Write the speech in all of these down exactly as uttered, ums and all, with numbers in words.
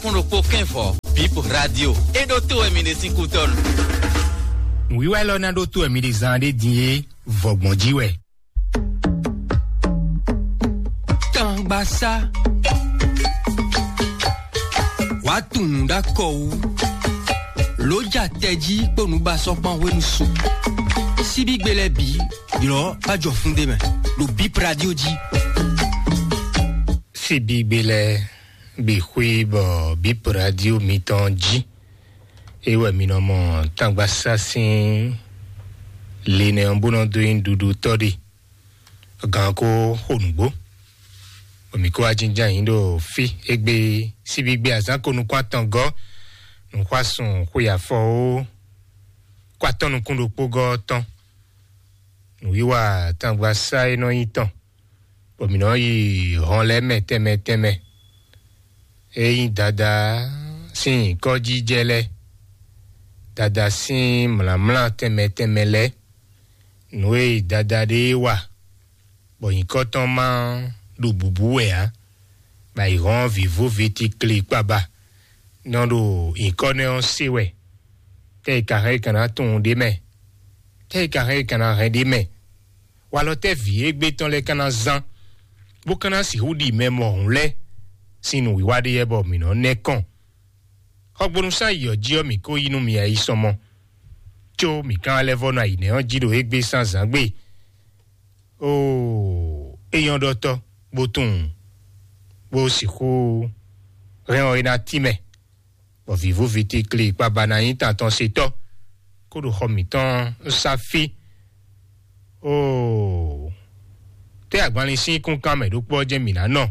Kún ɖokpó kɛ́nvɔ, Bip Radio. É ɖótó wɛ mi ɖe sín kútɔ́nu. Nǔwiwa élɔ́ ná ɖótó wɛ mi ɖe zán ɖé din é, vɔgbɔn jí wɛ. Tangbasá. Wàá tunwun ɖó akɔ wú. Lǒ ja tɛjí kpó nǔbasɔ́kpán hwenu su. Síbígbe lɛ́ɛ bǐ, ylɔ̌ bá jɔ fún ɖé mɛ, ɖo Bip Radio jí. Síbígbe lɛ́ɛ bǐ xwí bɔ Bip Radio mitɔn jí. É wɛ mi nɔ mɔ Tangbasá sín linɛ ɔ́ bó nɔ dó nyí ɖuɖutɔ́ ɖe. Gan ko xo nǔgbó. Bɔ mǐ kó wá jínjɔ́n ayǐ ɖo fí égbé síbígbe azǎn ko nukún atɔngɔ́, nǔxwásún xwe afɔ ó, kó atɔ́ nukún ɖokpó gɔ́ tɔn. Nǔwiwa Tangbasá e nɔ nyí tɔn, bɔ mǐ nɔ yi hɔn lɛ́ɛ mɛ tɛnmɛ tɛnmɛ. É nyí Dadá sín nyǐkɔ́jijɛ lɛ́ɛ, Dadá sín mlǎmlá tɛnmɛ tɛnmɛ lɛ́ɛ, nǔ e Dadá ɖe wa, bɔ nyǐkɔ tɔn ma ɖo bǔbú wɛ ǎ, bɔ ayǐhɔ́n vǐvú vǐtikli kpaba nɔ ɖo nyǐkɔ nɛ́ ɔ́ se wɛ. Tɛ́ è ka hɛn è ka ná tunwun ɖ'é mɛ? Tɛ́ è ka hɛn è ka ná hɛn ɖ'é mɛ? Walɔ tɛ́ vǐ égbé tɔn lɛ́ɛ ka ná zán, bó ka ná sixú ɖi mɛ mɔ̌hun lɛ́ɛ sín nǔwiwa ɖé yɛ bɔ mǐ nɔ nɛ́ kɔn? Xɔgbónúsán yi ɔ́ jí ɔ́, mǐ ko yí nú mi ayisɔmɔ, có mǐ ka lɛ́ vɔ́ nɔ ayǐnɛ́ ɔ́ jí ɖo égbé sín azǎn gbe. Oo, é nyɔ́ ɖɔtɔ́, bó tunwun, bó sixú hɛn ɔ́ é ná tínmɛ, bɔ vǐvú vǐtikli kpaba ná nyí tantɔn setɔ́, kó ɖo xɔ mǐtɔn sá fí. Oo, tɛ́ agbanlin sín kúnkan mɛ ɖokpó ɔ́ jɛ́n mǐ ná nɔ,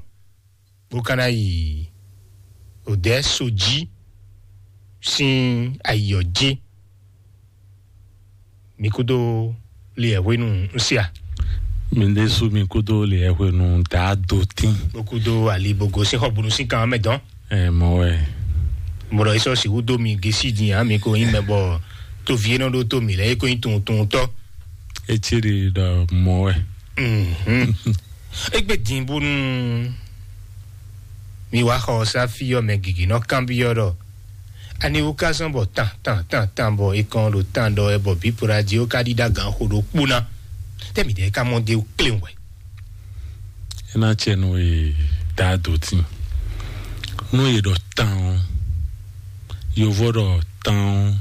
bó ka ná yi odɛ̌ so jí sín ayi ɔ́ jí. Mi kúdó liɛ hwenu ń se a? Mi ɖésú mi kúdó liɛ hwenu dá do tín. Bó kúdó ali bó gosín xɔ bunu sín kan mɛ dɔn. Ɛ mɔ wɛ. Mɔɖɔ yìí sɔ sixú dó mi gesi din a mi ko nyí mɛ bɔ tovi e nɔ ɖó tó mi lɛ e ko nyí tuntuntɔ. Etí ɖi ɖɔ mɔ wɛ. Mhm. Egbe din bónú mi wá xɔ sáfí ɔ́ mɛ gěgé nɔ kanbyɔ́ ɖɔ aniwu ka zɔn bɔ tan tan tan tan bɔ e kɔn ɖo tan ɖɔ wɛ bɔ bípo ɖo adi ó ka ɖíɖá gan xo ɖokpó ná. Tɛ́ mǐdɛɛ ka mɔ dé kléwún wɛ? É ná cɛ nú e dá dǒ tín. Nú e ɖɔ tán ɔ́, yovó ɖɔ tán ɔ́,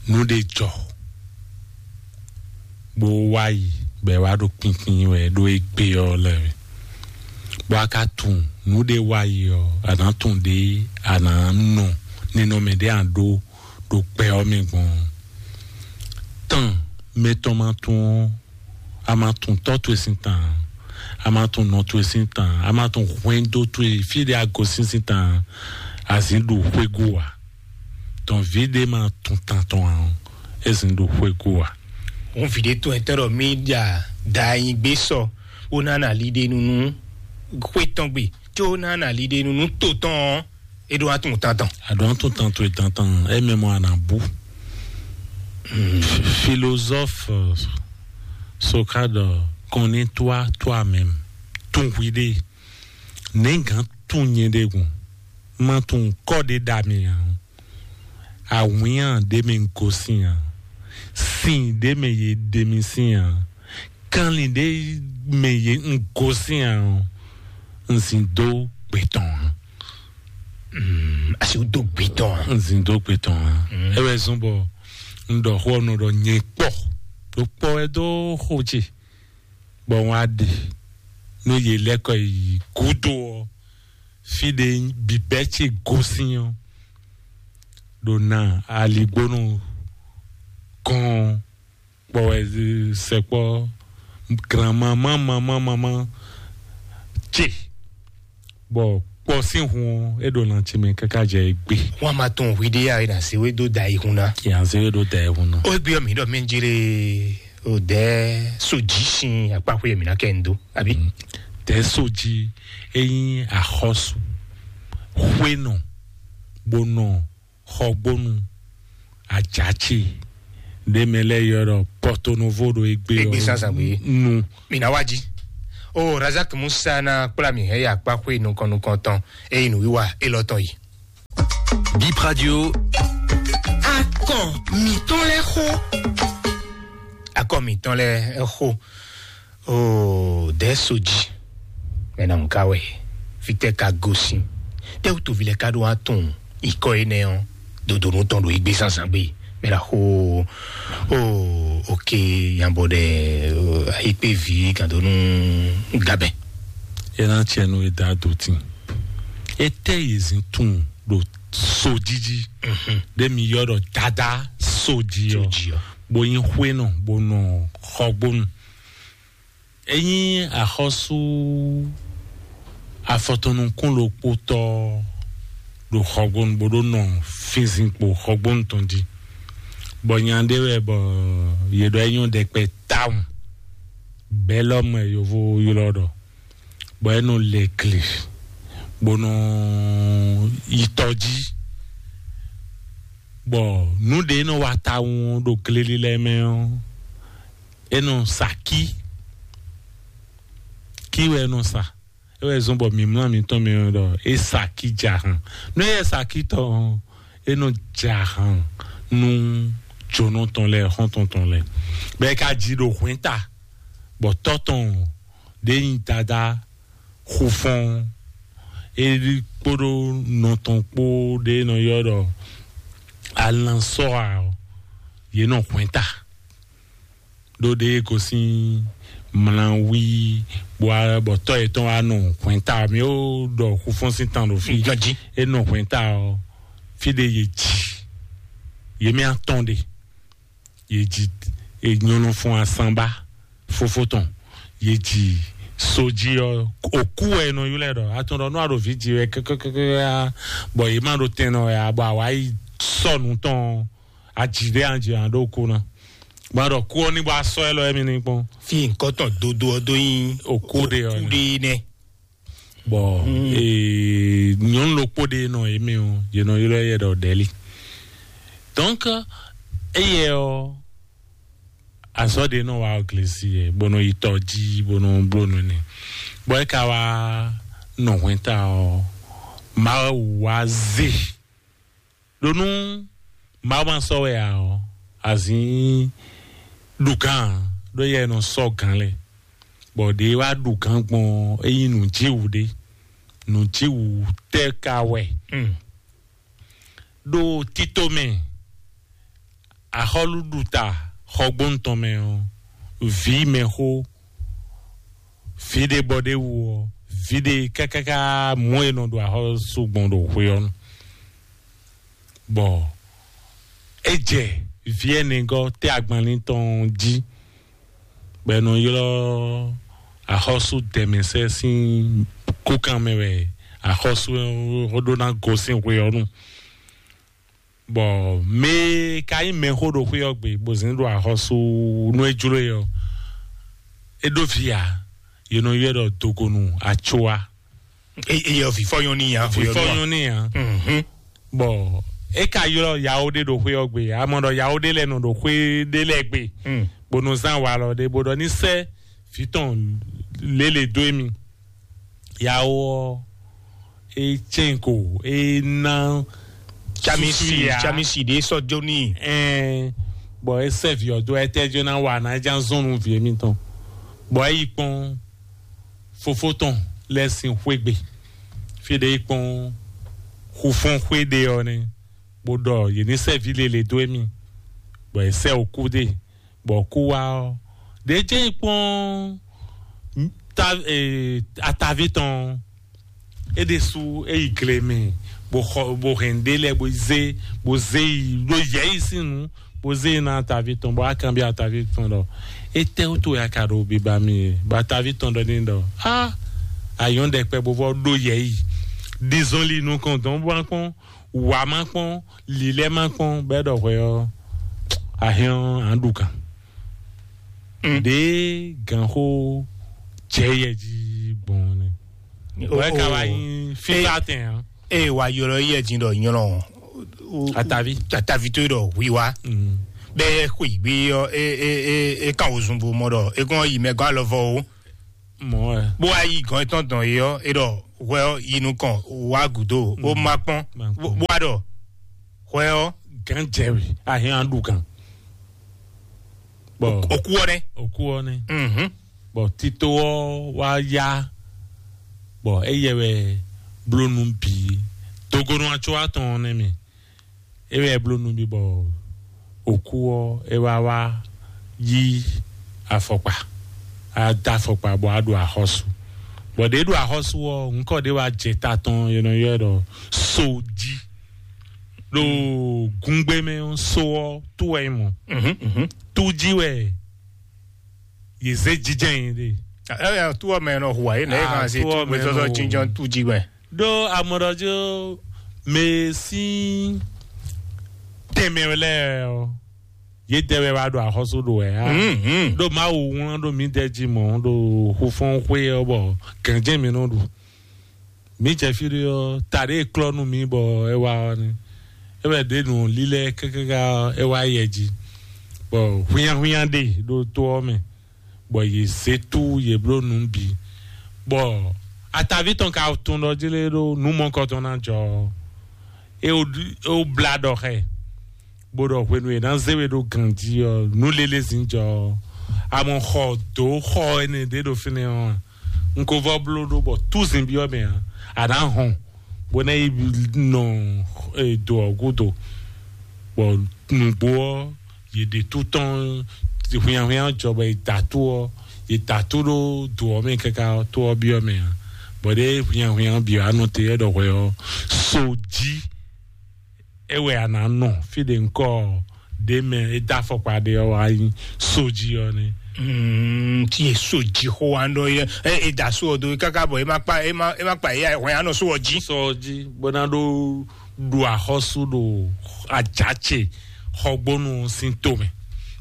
nú ɖé jɔ bó wá yi bɔ è wá ɖo kpínkpín wɛ ɖó égbé ɔ́ lɛ́ɛ wɛ. Bɔ a ka tunwun nǔɖé wá yi ɔ́, a nǎ tunwun ɖě a nǎ nɔ ninɔmɛ ɖé a ɖó ɖo gbɛ ɔ́ mɛ gbɔn. Tán mɛtɔn ma tunwun ɔ́, a ma tunwun tɔ́ towe sín tan, a ma tunwun nɔ towe sín tan, a ma tunwun hwɛndo towe fí ɖé a gosín sín tan, a zǐn ɖo xwégú ǎ. Tɔn vǐ ɖé ma tunwun tan tɔn ǎ ɔ́, é zǐn ɖo xwégú ǎ. Òun vǐ ɖé tɔn e tɔ́ ɖɔ mí ɖa da nyi gbé sɔ, bó ná na liɖenu nú xwé tɔn gbe, có ná na liɖenu nú to tɔn ɔ́, é ɖó wá tunwun tan tɔn. A ɖó wá tunwun tan towe tan tɔn, é mɛ mɔ a nǎ bú. Philosophe, euh, Socrate, euh, connais-toi toi-même. Tunwun hwi ɖe. Nɛ̌ gǎn tunwun nyɛ ɖe gun? Ma tunwun kɔ ɖé ɖa mì ǎ. Awǐnnya ɖé mɛ un gosín ǎ. Sin ɖé mɛ yě ɖe mì sín ǎ. Kanlin ɖé mɛ yě un gosín ǎ ɔ́, un zin dó gbe tɔn ǎ. Mm, asi wú dó gbe tɔn ǎ. Un zin dó gbe tɔn ǎ. Mm. É wɛ zɔ́n bɔ un ɖɔ xó ɔ́ nɔ ɖɔ nyɛ kpɔ. Ɖo kpɔ wɛ dó xó ce. Bɔ wọ́n á ɖe nú yě lɛ́ kɔ yi gúdo ɔ́, fí ɖé bǐbɛ́ ce gosín ɔ́, ɖo na aligbónú gɔ́n kpɔ wɛ sɛkpɔ́ granmamá mamá mamá ce. Bɔ kpɔ sín hun ɔ́, é ɖo lan ce mɛ káká jɛ égbé. Wọ́n á máa tún hwi ɖé yá é nà zéwé dó da ihun ná. Yà zéwé dó da ihun ná. Ó gbé ɔmì ɖɔ mí jere ò dɛ so jí sin akpáxwé mi ná kɛ ń dó, àbí? Tɛ so jí eyín àxɔsù xwénɔ bó nɔ xɔgbónu àjàchì ɖé mɛ lɛ yɔ ɖɔ Porto Novo ɖo égbé Égbé ɔ́ sásà gbé. Nu. Mi ná wá jí. O Razak Musa ná kplá mi hɛn yi akpáxwé nukɔn nukɔn tɔn, eye nǔwiwa élɔ́ tɔn yi. Bip Radio. Akɔ mǐtɔn lɛ́ɛ xo. Akɔ mǐtɔn lɛ́ɛ xo. O dɛ̌ sojí. Mɛ na nǔ ká wɛ? Fítɛ́ ka gosín? Tɛ́ wútu vi lɛ́ɛ ka ɖó wá tunwun nyǐkɔ énɛ́ ɔ́, dodonu tɔn ɖo yí gbé zánzán gbé? Mɛ na xo. O oke, yabɔ ɖɛ. Ayikpé vi gǎndónú gabɛ. É ná tiɛ nú é dá dó tín. Étɛ́ yě zin tunwun ɖo sojí jí? Ɖé mi yɔ ɖɔ dada sojí ɔ́. Sojí ɔ́. Bó nyí xwénɔ, bó nɔ xɔgbónu. É nyí axɔ́sú afɔtɔnukún ɖokpótɔ́ ɖo xɔgbónu, bó ɖó nɔ fínzinkpo xɔgbónu tɔn jí. Bɔ nya ɖé wɛ bɔ yě ɖɔ é nyɔ́ ɖɛkpɛ tawun. Bɛlɔ́mɛ yovo ylɔ́ ɖɔ, bɔ é nɔ lɛ gle, bó nɔ yi tɔ jí, bɔ nǔ ɖé nɔ wa tawun ɖo gleli lɛ́ɛ mɛ ɔ́, é nɔ sa kí. Kí wɛ é nɔ sa. É wɛ zɔ́n bɔ mǐmlá mǐtɔn mɛ ɔ́ ɖɔ é sa kí jahan. Nú é sa kí tɔn ɔ́, é nɔ jahan nú jǒnɔ tɔn lɛ́ɛ, xɔ́ntɔn tɔn lɛ́ɛ. Bɔ é ka ji ɖo hwɛ̌nta, bɔ tɔ́ tɔn ɖě nyí dadá xufɔ́n, é kpódó nɔ tɔn kpó ɖě nɔ ylɔ́ ɖɔ alansɔ́ ǎ ɔ́, yě nɔ hwɛ̌nta. Ɖó ɖě gosín mlawí, bɔ tɔ́ yětɔn wá nɔ hwɛ̌nta. Mi ó ɖɔ xufɔ́n sín tan ɖo fí. Ganjí. É nɔ hwɛ̌nta ɔ́, fí ɖé yě ji, yě mɛ atɔn ɖe, yě ji, è nyɔ́nɔ fún asánbá fófó tɔn, yě ji sojí ɔ́, òkú wɛ è nɔ ylɔ́ ɛ ɖɔ atɔn ɖɔ nú a ɖo vǐ ji wɛ kɛkɛkɛkɛ, bɔ yě má ɖo tɛn nɔ wɛ a, bɔ a wǎ yi sɔ́ nǔ tɔn ɔ́, a ji ɖé a ji a ɖó kú ná. Bɔ a ɖɔ kú ɔ́ ní bɔ a sɔ́ ɛ lɔ émi ní kpɔ́n. Fi nǹkan tɔn dodo ɔ́ dó nyí Òkú ɖe ɔ́ òkú nɛ. Ɖe nɛ. Bɔ ee, nyɔnu ɖokpó ɖé nɔ yě mɛ ɔ́, yě nɔ ylɔ́ yɛ ɖɔ ɖɛ̌li. Donc, éyɛ ɔ́, azɔ̌ ɖé nɔ wá ɔ́ glesi yɛ, bó nɔ yi tɔ jí, bó nɔ bló nǔ nɛ. Bɔ é ka wá nɔ hwɛ̌nta ɔ́, Mawu wá zé. Ɖó nú Mawu ma sɔ́ wɛ ǎ ɔ́, azǐn ɖu gǎn ǎ, ɖó yɛ nɔ sɔ́ gǎn lɛ. Bɔ ɖě wá ɖu gǎn gbɔn ɔ́, é nyí nǔjíwǔ ɖé. Nǔjíwǔ tɛ́ ka wɛ? Mm. Ɖo tito mɛ, axɔ́lúɖuta xɔgbónu tɔn mɛ ɔ́, vǐ mɛxó, vǐ ɖé bɔ ɖé wú ɔ́, vǐ ɖé kákáká mɔ̌ e nɔ ɖo axɔ́sú gbɔn ɖo xwe ɔ́ nu. Bɔ é jɛ vǐ ɛnɛgɔ́ tɛ́ agbanlín tɔn jí, bɔ è nɔ ylɔ́ axɔ́sú dɛ̌mɛsɛ́ sín kúkan mɛ wɛ axɔ́sú ɔ́ ɖó ná gosín xwe ɔ́ nu. Bɔ mɛ e ka nyí mɛxó ɖo xwé ɔ́ gbe, bó zɛ́n ɖo axɔ́sú nú é jló e ɔ́, é ɖó vǐ ǎ. Yě nɔ ylɔ́ ɛ ɖɔ dogonu Atsua. Eye ɔ, vǐfɔ nyɔ́ n'i ǎ. Vǐfɔ nyɔ́ n'i ǎ. Mhm. Bɔ é ka ylɔ́ yawo ɖé ɖo xwé ɔ́ gbe, a mɔ ɖɔ yawo ɖé lɛ́ɛ nɔ ɖo xwé ɖé lɛ́ɛ gbe, Mm. bó nɔ zán walɔ ɖé, bó ɖɔ ní sɛ́ vǐ tɔn lěle dó émi. Yawo ɔ́, é cɛ́n ko, é ná Tsamisi, susu ya. Tsamisi ɖé sɔ́ jó n'i. Ɛn, bɔ é sɛ́ vǐ ɔ́ dó, ɛtɛ́ jó ná wa ná é já zɔn nú vǐ émítɔn. Bɔ é yi kpɔ́n fofó tɔn lɛ́ɛ sín xwé gbe. Fí ɖé yi kpɔ́n xufɔ́n xwé ɖé ɔ́ nɛ́, bó ɖɔ yě ní sɛ́ vǐ lele dó émí, bɔ è sɛ́ òkú ɖe, bɔ kú wá ɔ́, ɖě jɛ́n yi kpɔ́n ta, e, ataví tɔn ɔ́, é ɖésú é yi gle mɛ, bó xɔ, bó hɛn ɖé lɛ́ɛ, bó zé, bó zé yi ɖó yɛ̌yi sín nǔ, bó zé yi ná ataví tɔn, bó wá kanbyɔ́ ataví tɔn ɖɔ: "Étɛ́ wútu wɛ a ka ɖo biba mì é?" Bɔ ataví tɔn ɖɔ n'i ɖɔ: "Á, a nyɔ́ ɖɛkpɛ bó vɔ́ ɖó yɛ̌yi, ɖi zɔnlin nukɔn dɔn bó wá kpɔ́n, wǎ má kpɔ́n, lǐlɛ́ má kpɔ́n, bɔ é ɖɔ hwɛ ɔ́, a hɛn ɔ́, a nǎ ɖu gǎn." Mm. Ɖě gǎnxó jɛ yɛ jí gbɔn nɛ. Wɛ ka wá nyí fífá tɛn ǎ. Eye wa ylɔ yɛ jí ɖɔ nyɔlɔ. Atavi. Atavi tó ɖɔ hwiwa. Mm. Bɛ xwe gbe yɔ e e e e kan ozun bo mɔ ɖɔ e kɔn yi mɛ gɔn alɔ vɔ o. Mɔ̌ wɛ. Bó wá yí gɔn etɔn dɔn yé ɔ́, é ɖɔ hwɛ ɔ́ yi nukɔn wá gǔdo, ó má kpɔ́n. Má kpɔ́n. Bó wá ɖɔ hwɛ ɔ́. Gǎn jɛ wɛ, ahin an ɖu gǎn. Bɔ òkú ɔ́ nɛ́. Òkú ɔ́ nɛ́. Mhm. Bɔ tito ɔ́ wá yá, bɔ éyɛ wɛ bló nú bǐ. Dogonu atsó atɔn ɔ́ nɛ́ mɛ. É wɛ bló nú mì bɔ òkú ɔ́ é wá wá yí afɔkpa, á dó afɔkpa bɔ á ɖo axɔ́sú. Bɔ ɖě ɖo axɔ́sú ɔ́, ŋkɔ ɖé wá jɛ ta tɔn, è nɔ ylɔ́ ɛ ɖɔ sójí. Ɖo gúngbé mɛ ɔ́, só ɔ́ tó wɛ nyí mɔ̌. Mhm, mhm. Tó jí wɛ yě zé jijɛ nyi ɖe. Ɛ, ɛ, tó ɔ́ mɛ nɔ hu ǎ, é nɛ é Ah, kan se tó ɔ́ mɛ gbɛtɔ́ nɔ hu. Jínjɔ́n tó jí wɛ. Ɖó amɔɖɔjó mɛ sín tɛnmɛ lɛ́ɛ ɔ́, yědɛɛ wɛ wá ɖo axɔ́sú ɖo wɛ á. Mhm. Ɖó Mawu wlán ɖó mǐdɛɛ jí mɔ̌ ɖo xofɔ́n xwé ɔ́, bɔ gǎnjɛ́n mǐ nɔ ɖu. Mǐ jɛ fí ɖé ɔ́, ta ɖé e klɔ́ nú mǐ bɔ é wá ɔ́ nɛ́. É wɛ ɖě nǔ lílɛ́ káká ɔ́, é wá yɛ jí, bɔ hwínnyáhwínnyá ɖe ɖo tó ɔ́ mɛ, bɔ yě zé tú yě bló nǔ bǐ, bɔ ataví tɔn ka tunwun ɖɔ jí lé ɖó nǔ mɔkɔtɔn ná jɔ ɔ́, é wó é wó blá ɖɔ xá ɛ, bó ɖɔ hwenu e è nǎ zé we ɖó ganjí ɔ́, nǔ lélé zǐn jɔ ɔ́, a mɔ xɔ dǒ xɔ énɛ́ ɖé ɖo fínɛ́ ɔ́ a? Un ko vɔ bló ɖó bɔ túzin byɔ́ mɛ ǎ, a nǎ hɔn bó ná yi nɔ e, do ɔ́ gúdo, bɔ nǔgbó ɔ́, yě ɖe tú tɔn hwinnyahwinnya jɔ bɔ è da tó ɔ́, è da tó ɖó do ɔ́ mɛ káká tó ɔ́ byɔ́ mɛ ǎ. Bɔ ɖěe hwinnyahwinnya byɔ́ anɔ te é ɖɔ hwɛ ɔ́, so jí é wɛ a nǎ nɔ fí ɖe ŋkɔ ɖě mɛ é dó afɔkpa ɖe ɔ́ wá nyí sójí ɔ́ nɛ́. Mm, tí e so jí xó wa ɖɔ é, é da so ɔ́ dó káká bɔ é má kpa é má é má kpa é hwɛn anɔ so ɔ́ jí. Sɔ jí bó ná ɖó ɖu axɔ́sú ɖo ajǎ ce xɔgbónu sín tomɛ.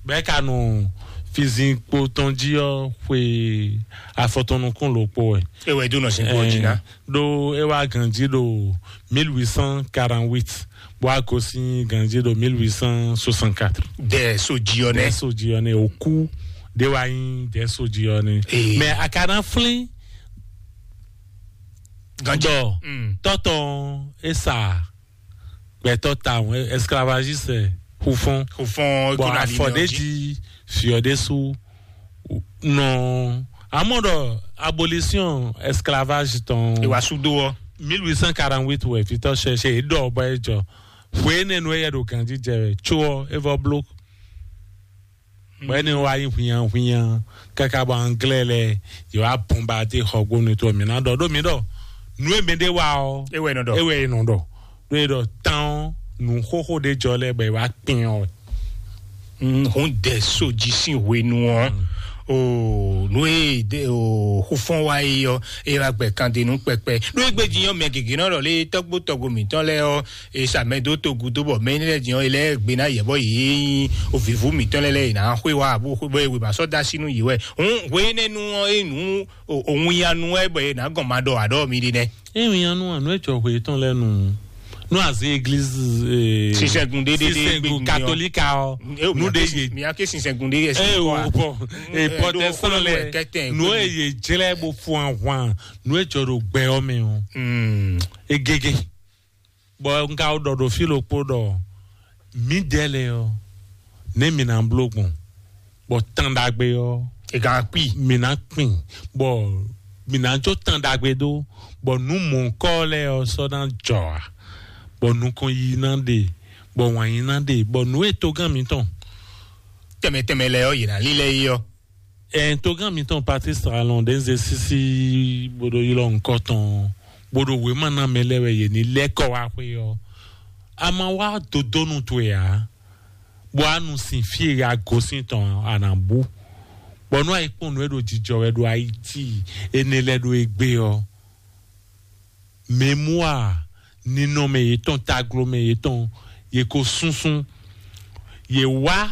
Bɛ́ ka nɔ fizin kpo tɔn jí ɔ́ xwe afɔtɔnukún lǒkpó wɛ. É wɛ dó nɔ sin kpo jí ná. Ɖó é wá ganjí ɖo mille huit cent quarante-huit, bó wá gosín ganjí ɖo mille huit cent soixante-quatre. Dɛ so jí ɔ́ nɛ. Dɛ so jí ɔ́ nɛ, òkú ɖé wá nyí dɛ so jí ɔ́ nɛ. Ee. Mɛ a ka ná flín Ganjí. Ɖɔ Mm. Tɔ́tɔn é sa gbɛtɔ́ tawun, esclavagiste, xufɔ́n. Xufɔ́n Bɔn kó na afɔ ɖé jí. Jí fiɔ ɖé sú nɔ amɔ ɖɔ abolition esclavage tɔn. Ìwà sudo ɔ. Mille huit cent quarante-huit wɛ vitɔ cherche é ɖɔ bɔ é jɔ. Hwe énɛ́ nu é yɛ ɖo ganjí jɛ wɛ tso ɔ é vɔ bló. Bɔ énɛ́ wá nyí hwinyan hwinyan káká bɔ anglais lɛ yě wá bombarder xɔgbónu tó mǐ ná ɖɔ ɖó mǐ ɖɔ nú e mɛ ɖé wá ɔ. É wɛ nɔ ɖɔ. É wɛ nɔ ɖɔ. Ɖó é ɖɔ tán ɔ́, nǔ xóxó ɖé jɔ lɛ́ɛ bɔ é wá kpin ɔ. Hun dɛ so jí sín hwenu ɔ́, o nú e de o xufɔ́n wá yi ɔ́, é wá gbɛ kan de nú kpɛkpɛ. Ɖó égbé jí ɔ́, mɛ gěgé nɔ ɖɔ lé tɔ́gbó tɔ́gbó mǐtɔn lɛ́ɛ ɔ́, e sa mɛ dó togu dó bɔ mɛ énɛ́ lɛ́ɛ jí ɔ́, é lɛ́ gbe ná yɛ bɔ yě nyí o vǐvú mǐtɔn lɛ́ɛ lɛ́ɛ yě ná xwé wá abú xwé bɔ é wě ma sɔ́ dó así nú yě wɛ. Hun hwe énɛ́ nu ɔ́, é nǔ o o winnyanu wɛ bɔ yě ná gɔn ma ɖɔ aɖɔ mi ɖi nɛ. Ewinnyanu anu etsɔ hwe tɔn lɛ nu nu azi église. Sinsɛngun ɖéɖé ɖé Sinsɛngun gbɛgbɛ katolika ɔ. Nu ɖe ye. Mia ke sinsɛngun ɖé yɛ eye o bɔ ee protestant lɛ nu eye jlɛ bo fún ahwan nu etsɔ ɖo gbɛ ɔ mɛ o. Egege bɔ n ka ɖɔ ɖo fí ɖokpó ɖɔ mǐdɛɛ lɛ ɔ nɛ mǐ ná bló gbɔn bɔ tán ɖagbe ɔ Ega kpi. Mǐ ná kpin bɔ mǐ ná jó tán ɖagbe dó bɔ nǔ mɔ̌kɔ lɛ́ɛ ɔ sɔ́ ná jɔ ǎ bɔ nukɔn yi ná ɖe bɔ wǎn yi ná ɖe bɔ nǔ e togán mǐtɔn Tɛmɛ tɛmɛ lɛ ɔ yě ná lílɛ yi ɔ. Ɛn togán mǐtɔn Patrice Talon ɖe ń ze sísí bó ɖo ylɔ́ ŋkɔ tɔn bó ɖo wěma ná mɛ lɛ́ɛ wɛ yě ní lɛ́ kɔ wá xwé ɔ́. A ma wá dodónu towe ǎ, bɔ a nu sin fí e a gosín tɔn a nǎ bú. Bɔ nú a yi kpɔ́n nǔ e ɖo jijɔ wɛ ɖo Ayiti énɛ́ lɛ́ɛ ɖo égbé ɔ́, mémoire ninɔmɛ yětɔn, taglomɛ yětɔn, yě ko súnsún. Yě wá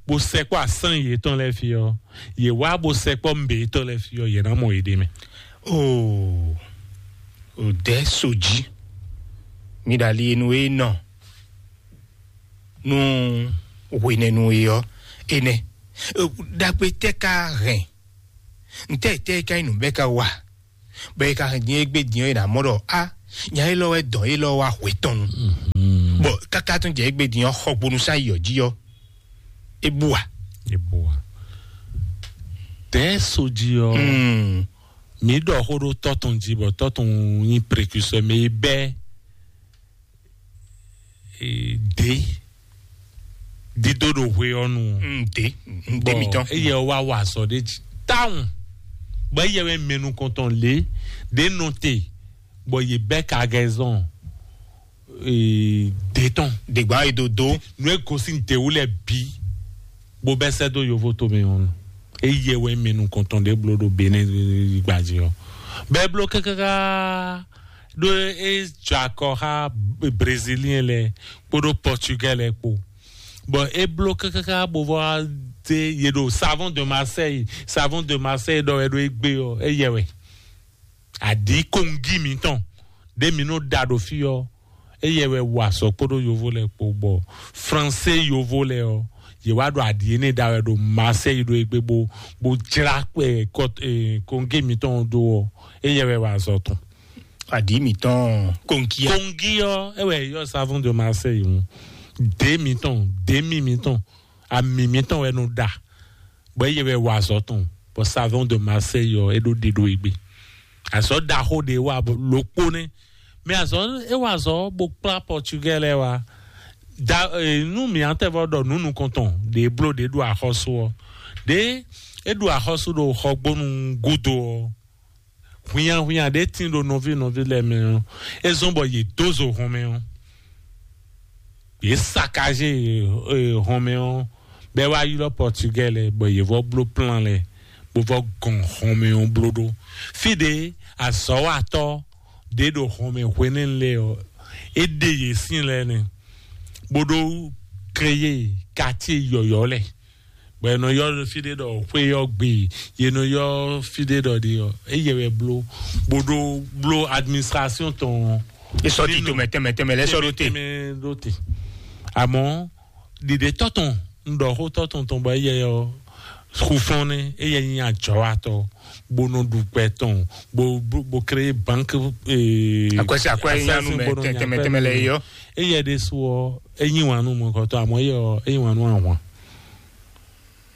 bó sɛkpɔ́ asán yětɔn lɛ́ɛ fí ɔ́, yě wá bó sɛkpɔ́ mbě yětɔn lɛ́ɛ fí ɔ́, yě ná mɔ yěɖée mɛ. Oo, o dɛ so jí mi ɖo ali e nu e nɔ nu hwenɛnu e ɔ enɛ. Ɖagbe tɛ ka hɛn Ntɛ́ tɛ́ ka nyí nǔ bɛ́ ka wa? Bɔ é ka hɛn din égbé din ɔ́, é ná mɔ ɖɔ á, nya élɔ́ wɛ dɔn élɔ́ wá hwe tɔn nu. Bɔ káká tún jɛ égbé din ɔ́, xɔ gbonu sá yi ɔ́ jí ɔ́, é bú a? Eboa. Tɛ soji ɔ, mi ɖɔ xó ɖo tɔtɔn jí bɔ tɔtɔn nyi précurseur mais bɛ de dido ɖo hwe ɔ́ nu. Ǹdé ǹdé mitɔn. Eye wa wa azɔ ɖe jí tawun. Bɔ eye wɛ mɛnu kɔntɔn lé ɖe nɔ te bɔ ye bɛ kagɛzɔn de tɔn. Dègbà yi do do. Nu e gosi dewu lɛ bi bó bɛ sɛ dó yovo to mɛ ɔn. Eye wɛ mɛnu kɔntɔn ɖe blo ɖo Benin gbaji ɔ. Bɛ blo kakaka ɖo e jɔ akɔ xa Brésilien lɛ kpódó Portugais lɛ kpó. Bɔn e bló kákáká bó vɔ de ye ɖo Savon de Marseille, Savon de Marseille ɖɔ wɛ ɖo egbe ɔ, eyɛ wɛ. Adi kongi mitɔn ɖe mi nɔ da ɖo fi ɔ, eyɛ wɛ wa sɔ kpódó yovo lɛ kpó bɔ français yovo lɛ ɔ, ye wa ɖo adi ene da wɛ ɖo Marseille ɖo egbe bó bó jla kpɛ kɔt- eh, kongi mitɔn ɖo ɔ, eyɛ wɛ wa zɔ tɔn. Adi mitɔn konkia. Kongi ɔ, e wɛ yɔ Savon de Marseille ŋu. De mitɔn, demi mitɔn, ami mitɔn wɛ nɔ da. Bɔ eye wɛ wa azɔ tɔn. Bɔ Savon de Marseille ɔ, e ɖo ɖiɖo egbe. Azɔ ɖaxo ɖe wa lokpo nɛ. Mɛ azɔ e wa azɔ bo kpla Portugais lɛ wa. Da eh, nu mi antɛ vɔ ɖɔ nu nukɔntɔn ɖe blo ɖe ɖo axɔsu ɔ. Ɖe e ɖo axɔsu ɖo xɔgbonu gudo ɔ. Hwinya hwinya ɖe tin ɖo nɔví nɔví lɛ mɛ ɔ, e zɔn bɔ yě dó zo hɔn mɛ ɔ, yě sakaze hɔn mɛ ɔ, bɛ wá ylɔ Portugais lɛ bɔ yě vɔ bló plan lɛ, bó vɔ gɔn hɔn mɛ ɔ bló ɖó. Fí ɖé azɔ̌watɔ́ ɖě ɖo hɔn mɛ hwenɛ́nu lɛ ɔ, é ɖe yě sín lɛ nɛ, bó ɖó créé quartier yɔ̌yɔ́ lɛ. Bɔ è nɔ ylɔ́ fí ɖé ɖɔ xwé ɔ́ gbe, yě nɔ ylɔ́ fí ɖé ɖɔ ɖi ɔ́, éyɛ wɛ bló, bó ɖó bló administration tɔn. E sɔ ti tɛmɛ tɛmɛ tɛmɛ lɛ sɔ ɖo te. Tɛmɛ ɖo te. Àmọ́ ɖiɖe tɔtɔn, un ɖɔ xó tɔtɔn tɔn bɔ éyɛ ɔ́ xufɔn nɛ, éyɛ nyi adzɔwatɔ, bó nɔ ɖu gbɛ tɔn, bó bó bó créé banque. Ee, Akwɛsi akwɛ nyanu mɛ tɛmɛ tɛmɛ lɛ yɔ. Éyɛ ɖé su ɔ, é nyi wǎn nú mɔkɔtɔ, àmọ́ éyɛ ɔ, é nyi wǎn nú ahwan.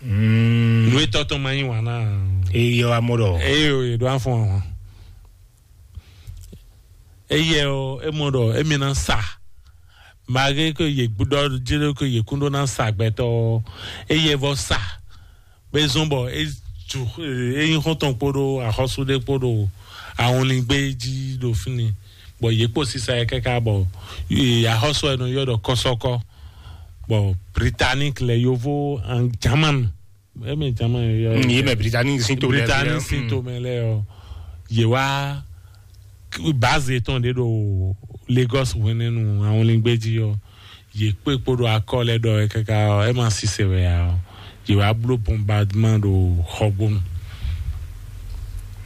Nú etɔ́ tɔn ma yí wǎn ná. Eyɔ amɔ ɖɔ. Eye o, yě ɖo afɔn ahwan. Eyɛ ɔ, é mɔ ɖɔ émi ná sa. Màgé ko yě gbúdɔ jélé ko yě kún ɖó ná sa gbɛtɔ ɔ, éyɛ vɔ sa. Bɛ zɔn bɔ é ju é nyí xɔntɔn kpódó axɔ́sú ɖé kpódó ahɔnlín gbé jí ɖo fínni. Bɔ yě kpo sisa yɛ káká bɔ axɔ́sú ɛ nɔ yɔ ɖɔ kɔsɔkɔ. Bɔ Britannique lɛ yovo an German, eme German yɔ. Yé mɛ Britannique sín to lɛ. Britannique sín to mɛ lɛ ɔ, yé wá base tɔn ɖe ɖo Lagos hwenɛnu ahɔnlín gbé jí ɔ, yé kpé kpó ɖo akɔ lɛ ɖɔ ɛ káká ɔ, ɛ ma sise wɛ ya ɔ, yé wá bló bombardement ɖo xɔgbónu.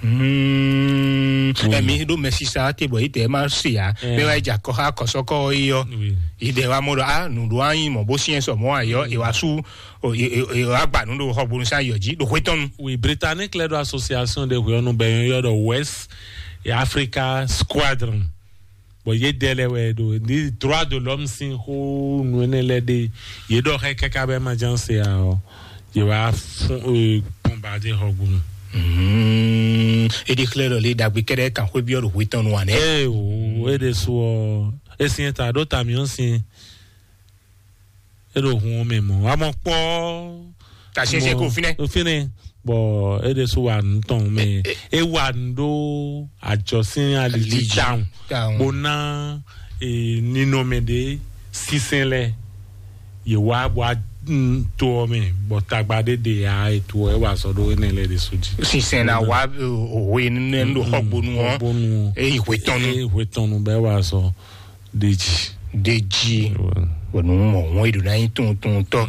Mm. Emi ɖo mɛ sisa te bɔ yi tɛ ma se ya mɛ wa ja kɔ ha kɔsɔkɔ yi yɔ. Yi dɛ wa mɔ ɖɔ a nu ɖo anyi mɔ bo siɛ sɔ mɔ ayɔ e wa su o e e e wa gba nu ɖo xɔgbonu sa yɔ ji ɖo xwe tɔnu. Oui, Britannique lɛ ɖo association de hwe ɔnu bɛ yɔ ɖɔ West Africa Squadron. Bɔn yé dɛ lɛ wɛ ɖo ní droit de l'homme sín xó nu énɛ́ lɛ ɖe yé ɖɔ xɛ káká bɛ ma ján se a ɔ yé wá fún bombardier xɔgbónu. Edi xlɛ ɖɔ lé dagbe kɛɖɛ kan xwé biɔ ɖo hwetɔn nu anɛ. Ee o, e ɖe su ɔ, e sinyɛ ta ɖo tamiɔ sin. E ɖo hun ɔ́ mɛ mɔ̌. Amɔ kpɔ́. Tasiɛnsiɛn ko fínɛ́. Fínɛ́. Bɔ e ɖe so wa nu tɔn mɛ. E wa nu ɖó ajɔsín alidzi tawun. Bo ná ninɔmɛ ɖé sísɛn lɛ. Yè wá bɔ a to ɔ́ mɛ bɔ tagba ɖé ɖe ya ètò ɛ wà sɔ ɖó énɛ́ lɛ ɖé so jí. Sísɛn ná wá òwe nínú ẹ̀ ń lò xɔgbónú ɔ́. Xɔgbónú ɔ́. Èyí hwetɔnu. Èyí hwetɔnu bẹ́ẹ̀ wà sɔ ɖé jí. Ɖe jí bɔ nǔ mɔ hɔn e ɖo ná nyí tuntuntɔ.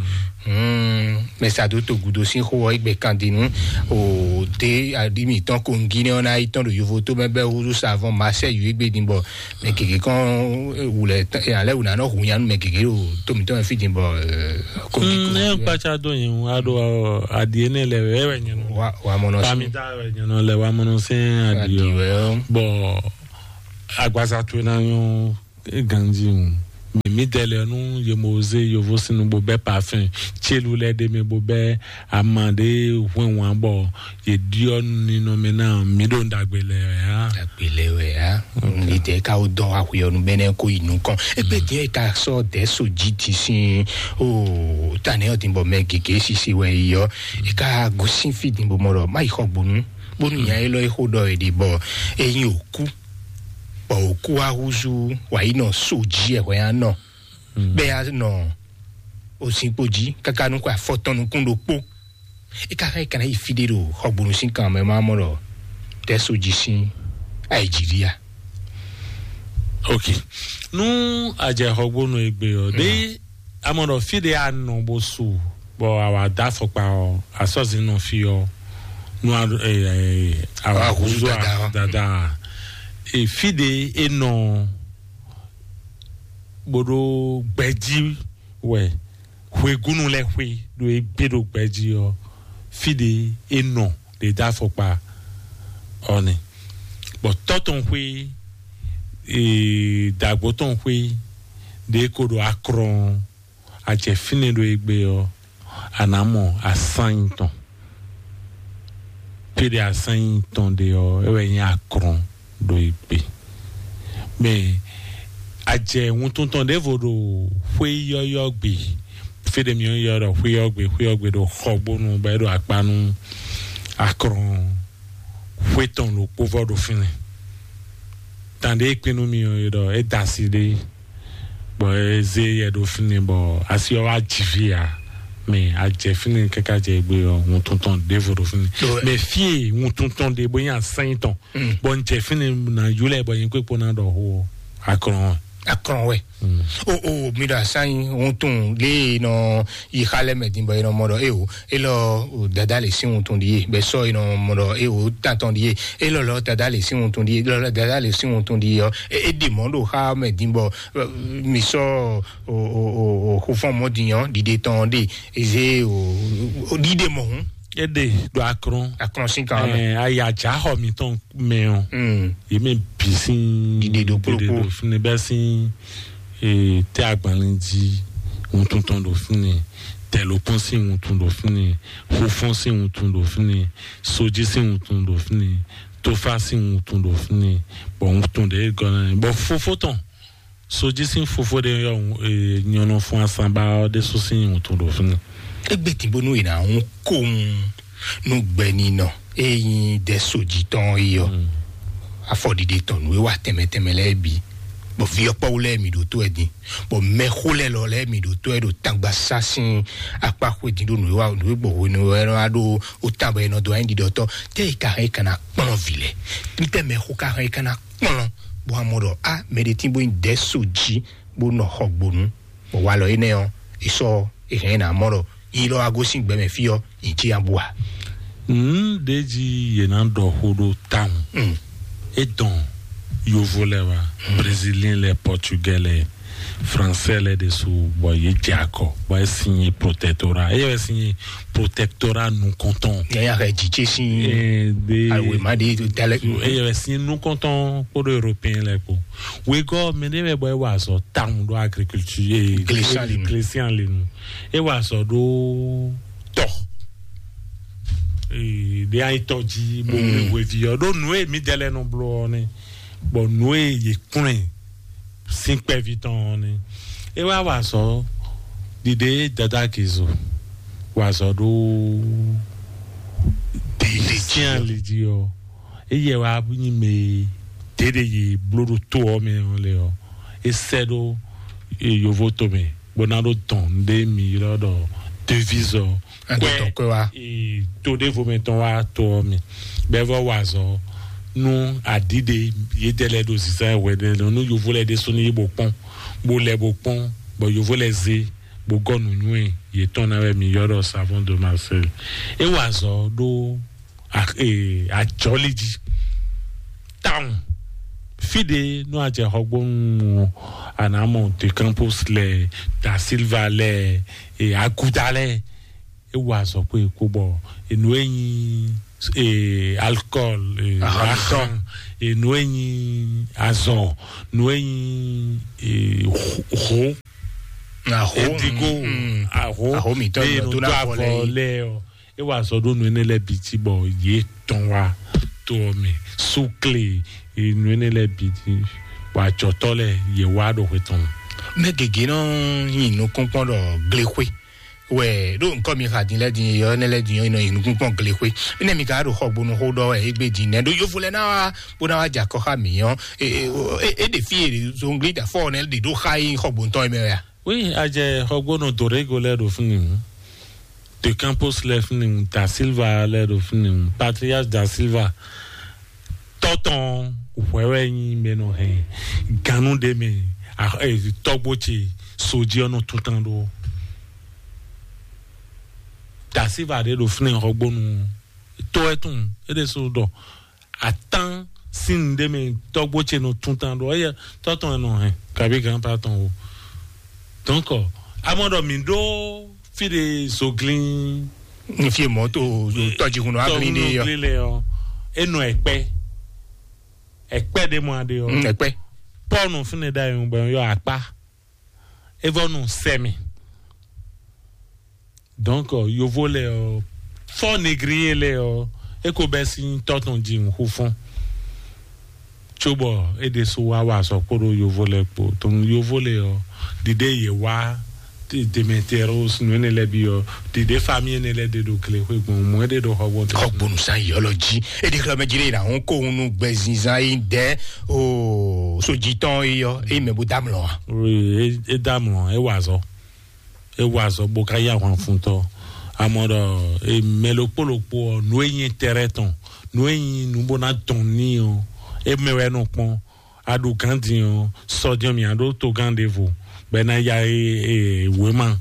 Mɛ sa dó togudo sín xó ɔ́, égbé kan din nú o dé aɖí mǐtɔn kongi nɛ́ ɔ́ ná yi tɔn ɖo yovo tó mɛ bɛ́ húzú savɔn masɛ yú égbé din bɔ mɛ gěgé kɔn wulɛ alɛ wuna nɔ hu nyanu mɛ gěgé ɖo tó mǐtɔn mɛ fí din bɔ kongi Mm, ne kongi kpatsa do yin ŋu aɖo aɖi ene lɛ wɛ wɛ nyɔnɔ wa wa mɔnɔ sí pamita wɛ nyɔnɔ lɛ wa mɔnɔ sɛn aɖi aɖi o wɛ ɔ. Bɔ agbaza to na nyɔ ganji ŋu. Mi mi dɛ lɛ nu ye mo ze yovo sinu bo bɛ parfum tselu lɛ de mi bo bɛ ama de hwɛn wan bɔ ye diɔ ninɔ mɛ na mi ɖo ndagbe lɛ ya. Agbele wɛ ya. Li tɛ ka wo dɔn wa hwe ɔnu bɛnɛ ko yi nukɔn. Ebe diɛ ka sɔ dɛ so ji ti sin o tanɛ ɔtin bɔ mɛ gege sisi wɛ yi yɔ. E ka gosin fi din bo mɔ ɖɔ ma yi xɔ gbonu. Bonu nya e lɔ e xo ɖɔ e de bɔ eyin o ku. Bɔ o ku wa huzu wa yi nɔ so ji ɛ hwɛ ya nɔ. Bɛ ya nɔ o sin kpo ji kaka nu ko afɔtɔn nukun ɖo kpo. E ka xá e kana yi fi ɖe ɖo xɔgbonu sín kan mɛ ma mɔ ɖɔ tɛ so ji sín Algeria. Ok. Nu àjẹ xɔgbonu egbe ɔ ɖe amɔ ɖɔ fi ɖe anɔ bo su bɔ awa da afɔkpa ɔ asɔzi nɔ fi ɔ nu awa huzu dada dada fi ɖe enɔ bó ɖó gbɛjí wɛ hwegúnu lɛ́ɛ xwé ɖo é gbé ɖo gbɛjí ɔ́ fí ɖé é nɔ ɖě dó afɔkpa ɔ́ nɛ́. Bɔ tɔ́ tɔn xwé dǎgbó tɔn xwé ɖě ko ɖo akrɔn ajɛ fínɛ́ ɖo é gbé ɔ́ a nǎ mɔ asányi tɔn. Fí ɖě asányi tɔn ɖe ɔ́ é wɛ nyí akrɔn ɖo é gbé. Mɛ ajɛ wuntun tɔn ɖěvo ɖo xwé yɔ́yɔ́ gbe. Fí ɖě mi ɔ́ ylɔ́ ɖɔ xwé yɔ́ gbe xwé yɔ́ gbe ɖo xɔgbónu bɔ é ɖo akpa nú akrɔn xwé tɔn ɖokpó vɔ ɖo fínɛ́. Tán ɖě kpé nú mi ɔ́ é ɖɔ é da asi ɖé bɔ é zé yɛ ɖo fínɛ́ bɔ asi ɔ́ wá jǐ fí ǎ. Mɛ ajɛ fínɛ́ káká jɛ gbé ɔ́ wuntun tɔn ɖěvo ɖo fínɛ́. Mɛ fí e wuntun tɔn ɖe bó nyí asányi tɔn bɔ n jɛ fínɛ́ ná yúlẹ̀ bɔ nyí kpékpó ná ɖɔ xó ɔ́ akrɔn ɔ́. Akrɔn wɛ. O o mi ɖo asányi wuntun lé e nɔ yi xa lɛ mɛ din bɔ e nɔ mɔ ɖɔ e o e lɔ dada le sin wuntun ɖi ye bɛ sɔ e nɔ mɔ ɖɔ e o tantɔn ɖi ye e lɔ lɔ dada le sin wuntun ɖi ye lɔ lɔ dada le sin wuntun ɖi ye ɔ e e ɖi mɔ ɖo xa mɛ din bɔ mi sɔ o o o o xofɔn mɔ din ɔ ɖiɖe tɔn ɖe eze o o ɖiɖe mɔ hun. Eɖe ɖo akrɔn akrɔn sin kan mɛ. Ɛ ayi adza xɔ mitɔn mɛ ɔ. Yé mɛ bi sín ɖiɖe ɖo kplokplo ɖo fúnni bɛ sín ee tɛ agbanlin jí wuntun tɔn ɖo fúnni tɛlókun sín wuntun ɖo fúnni xofɔn sín wuntun ɖo fúnni sojí sín wuntun ɖo fúnni tófá sín wuntun ɖo fúnni bɔ wuntun ɖe gɔnɛ bɔ fofó tɔn sojí sín fofó ɖe yɔ nyɔnɔ fún asanba ɔ́ ɖésú sín wuntun ɖo fúnni. Egbe tí bónú è nǎ hún kóhun nú gbɛninɔ e nyí dɛ sojí tɔn é yɔ afɔɖiɖe tɔn nǔ e wa tɛnmɛ tɛnmɛ lɛ́ɛ bǐ bɔ viyɔkpɔ́wú lɛ́ɛ mi ɖo tó ɛ din bɔ mɛxó lɛ́ɛ lɔ lɛ́ɛ mi ɖo tó ɛ ɖo tangba sá sín akpá xwedin ɖó nǔ e wa nǔ e gbɔ hwenu wɛ nɔ wá ɖó ó tán bɔ è nɔ dó wá nyí ɖiɖɔtɔ́ tɛ è ka hɛn è ka ná kplɔ́n vǐ lɛ́ɛ. Nítɛ́ mɛxó ka hɛn è ka ná kplɔ́n bó wá mɔ ɖɔ a mɛ ɖé tín bó nyí dɛ̌ so jí bó nɔ xɔ gbonu bɔ walɔ énɛ́ ɔ́ è sɔ́ è hɛn ná mɔ ɖɔ yí lɔ wá gosín gbɛmɛ fí ɔ́ nyí jí abú a. Nǔ ɖé jí yě ná ɖɔ xó ɖó tawun. É dɔn yovo lɛ wá, brésilien lɛ, portugais lɛ, français lɛ ɖésú bɔ yě jɛ akɔ bɔ é signé protectorat. É yɛ signé protectorat nukɔntɔn. Yaya xɛ jijé sín. Ɛɛ de awema de dalẹ. É yɛ signé nukɔntɔn kpódó européen lɛ kpó. Wegɔ mɛ ɖé wɛ bɔ é wà azɔ tawun ɖó agriculture. Glésian lenu. Glésian lenu. É wà azɔ ɖó tɔ. Ɖe ayi tɔ jí bó wuli hwevi ɔ ɖó nǔ e mi dɛ lɛ nɔ bló ɔ nɛ bɔ nǔ e yě kplɔn sín kpɛví tɔn ɔ nɛ. É wá wà sɔ ɖiɖe dada kizu wà sɔ ɖó dèjì ali jí ɔ eye wá nyi mɛ ɖeɖe yi bló ɖo tó ɔ mɛ ɔ lɛ ɔ é sɛ ɖó yovo tomɛ bó ná ɖó dɔn ɖé mi ylɔ́ ɖɔ devise ɔ kpɛ tó ɖévo mɛ tɔn wá tó ɔ mi bɛvɔ wà zɔ nú aɖíɖe yédɛ lɛ ɖo zizan wɛ ɖe nú yovo lɛ ɖésú ní yí bó kpɔn bó lɛ bó kpɔ́n, bɔ yovó lɛ zé bó gɔ́ nǔnywɛ́ yětɔn ná wɛ mi ylɔ́ ɖɔ savon de Marseille. É wa azɔ̌ ɖó a- ee, ajɔ̌li jí tawun. Fí ɖé nú a jɛ Xɔgbónu ɔ́, a nǎ mɔ De Campos lɛ́ɛ, Da Silva lɛ́ɛ, e, Aguda lɛ́ɛ. É wa azɔ̌ kpé kpó bɔ enú e nyí, e, alcohol, e, Ahɔn ahɔn, enú e nyí azɔ, nú e nyí, e, ho- ho Aho, edigo, mm, mm. Aho, Aho mǐtɔn eye nɔ nɔ dó dó ná avɔ avɔ lɛ yi. Lɛ ɔ, é wa azɔ̌ ɖó nǔ énɛ́ lɛ́ɛ bǐ jí bɔ yě tɔn wá tó ɔ́ mɛ, súkle, nǔ énɛ́ lɛ́ɛ bǐ jí, bɔ ajɔ̌tɔ́ lɛ́ɛ yě wá ɖo xwe tɔn. Mɛ gěgé nɔ nyi nukúnkpɔ́n ɖɔ glexwé wɛ ɖó nukɔn mi xa din lɛ din yɔ ne lɛ din yɔ nɔ yi nukun kpɔn gle xwe. Mine mi ka ɖo xɔgbonu xo ɖɔ wɛ egbe din nɛ ɖo yovo lɛ na wa bó na wa dza kɔ xa mi yɔ. E e e e ɖe fi e zongli da fɔ ne ɖe ɖo xa yi xɔgbonu tɔn mɛ ya. Oui, a jɛ xɔgbonu Dorego lɛ ɖo fini ŋu, De Campos lɛ fini ŋu, Da Silva lɛ ɖo fini ŋu, Patrias Da Silva. Tɔtɔn hwɛ wɛ nyi mɛ nɔ hɛn ganu ɖe mɛ, tɔgbo ce soji ɔnɔ tuntan ɖo. Dasiva ɖe ɖo flin xɔgbonu, to ɛ tun e ɖe so ɖɔ atan sin ɖe mɛ, tɔgbo ce nɔ tuntan ɖo eye tɔtɔn ɛ nɔ hɛn kabi gan pa tɔn o. Donc amɔ ɖɔ mi ɖo fi ɖe zoglin. N fi mɔ to tɔjihun nɔ aglin ɖe yɔ. Tɔhun lɛ ɔ, e nɔ ɛkpɛ, ɛkpɛ ɖe mɔ aɖe ɔ. Mm, ɛkpɛ. Pɔnu fúnɛ da yẹn gbɛ yɔ akpa, e vɔ nu sɛmi. Donc yovo lɛ ɔ, fɔ negriye lɛ ɔ, e ko bɛ sin tɔtɔn ji nxu fún. Cóbɔ é ɖésú wá wa azɔ̌ kpódó yovó lɛ́ɛ kpó. Tɔn yovó lɛ́ɛ ɔ́, ɖiɖe yě wá Demetrius nǔ énɛ́ lɛ́ɛ bǐ ɔ́, ɖiɖe fami énɛ́ lɛ́ɛ ɖe ɖo glexwé gbɔn, mɔ̌ é ɖe ɖo xɔgbɔn tɔn. Xɔgbonu san yɔlɔ jí. Eɖi xlɔ mɛ jí ɖe na hún kó hún nú gbɛzinzan yi dɛ o sojitɔn yi yɔ eyi mɛ bó damlɔ wa. Oui, é damlɔ, é wa azɔ̌. É wa azɔ̌ bó ká yá ahwan fun tɔ́. Amɔ ɖɔ mɛ ɖokpó ɖokpó ɔ́, nǔ e nyí tɛrɛ tɔn, nǔ e nyí nǔ bó ná dɔn ní ɔ́, é mɛ wɛ nɔ kpɔ́n. A ɖo gǎn din ɔ́, sɔjɔ́ mǐ a ɖó togán ɖěvo, bɔ é ná ya wěma,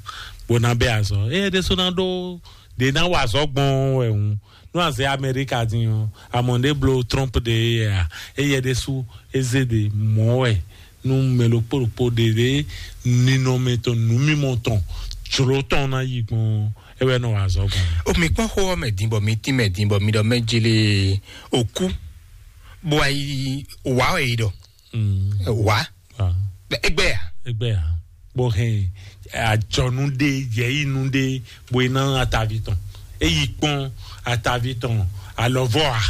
bó ná bɛ́ azɔ̌. Éyɛ́ ɖésú ná ɖó ɖě ná wa azɔ̌ gbɔn wɛ hǔn. Nú a zɛ Amɛríka din ɔ́, amɔ ɖě bló Trump ɖe éyɛ́ a? Éyɛ́ ɖésú é zé ɖě mɔ̌ wɛ nú mɛ ɖokpó ɖokpó ɖě ɖě ninɔmɛ tɔn, nǔmimɔ tɔn, jlǒ tɔn ná yi gbɔn, é wɛ nɔ wa azɔ̌ gbɔn. O mi kpɔ́n xó ɔ́ mɛ din bɔ mi tín mɛ din bɔ mi ɖɔ mɛ jele òkú bó wá yi wǎ wɛ yi ɖɔ wǎ. Egbɛ ya? Egbɛ ya? Bó hɛn ajɔnu ɖe, yɛyinu ɖe, bó yi ná atavi tɔn. Eyi kpɔn atavi tɔn alɔvɔ a?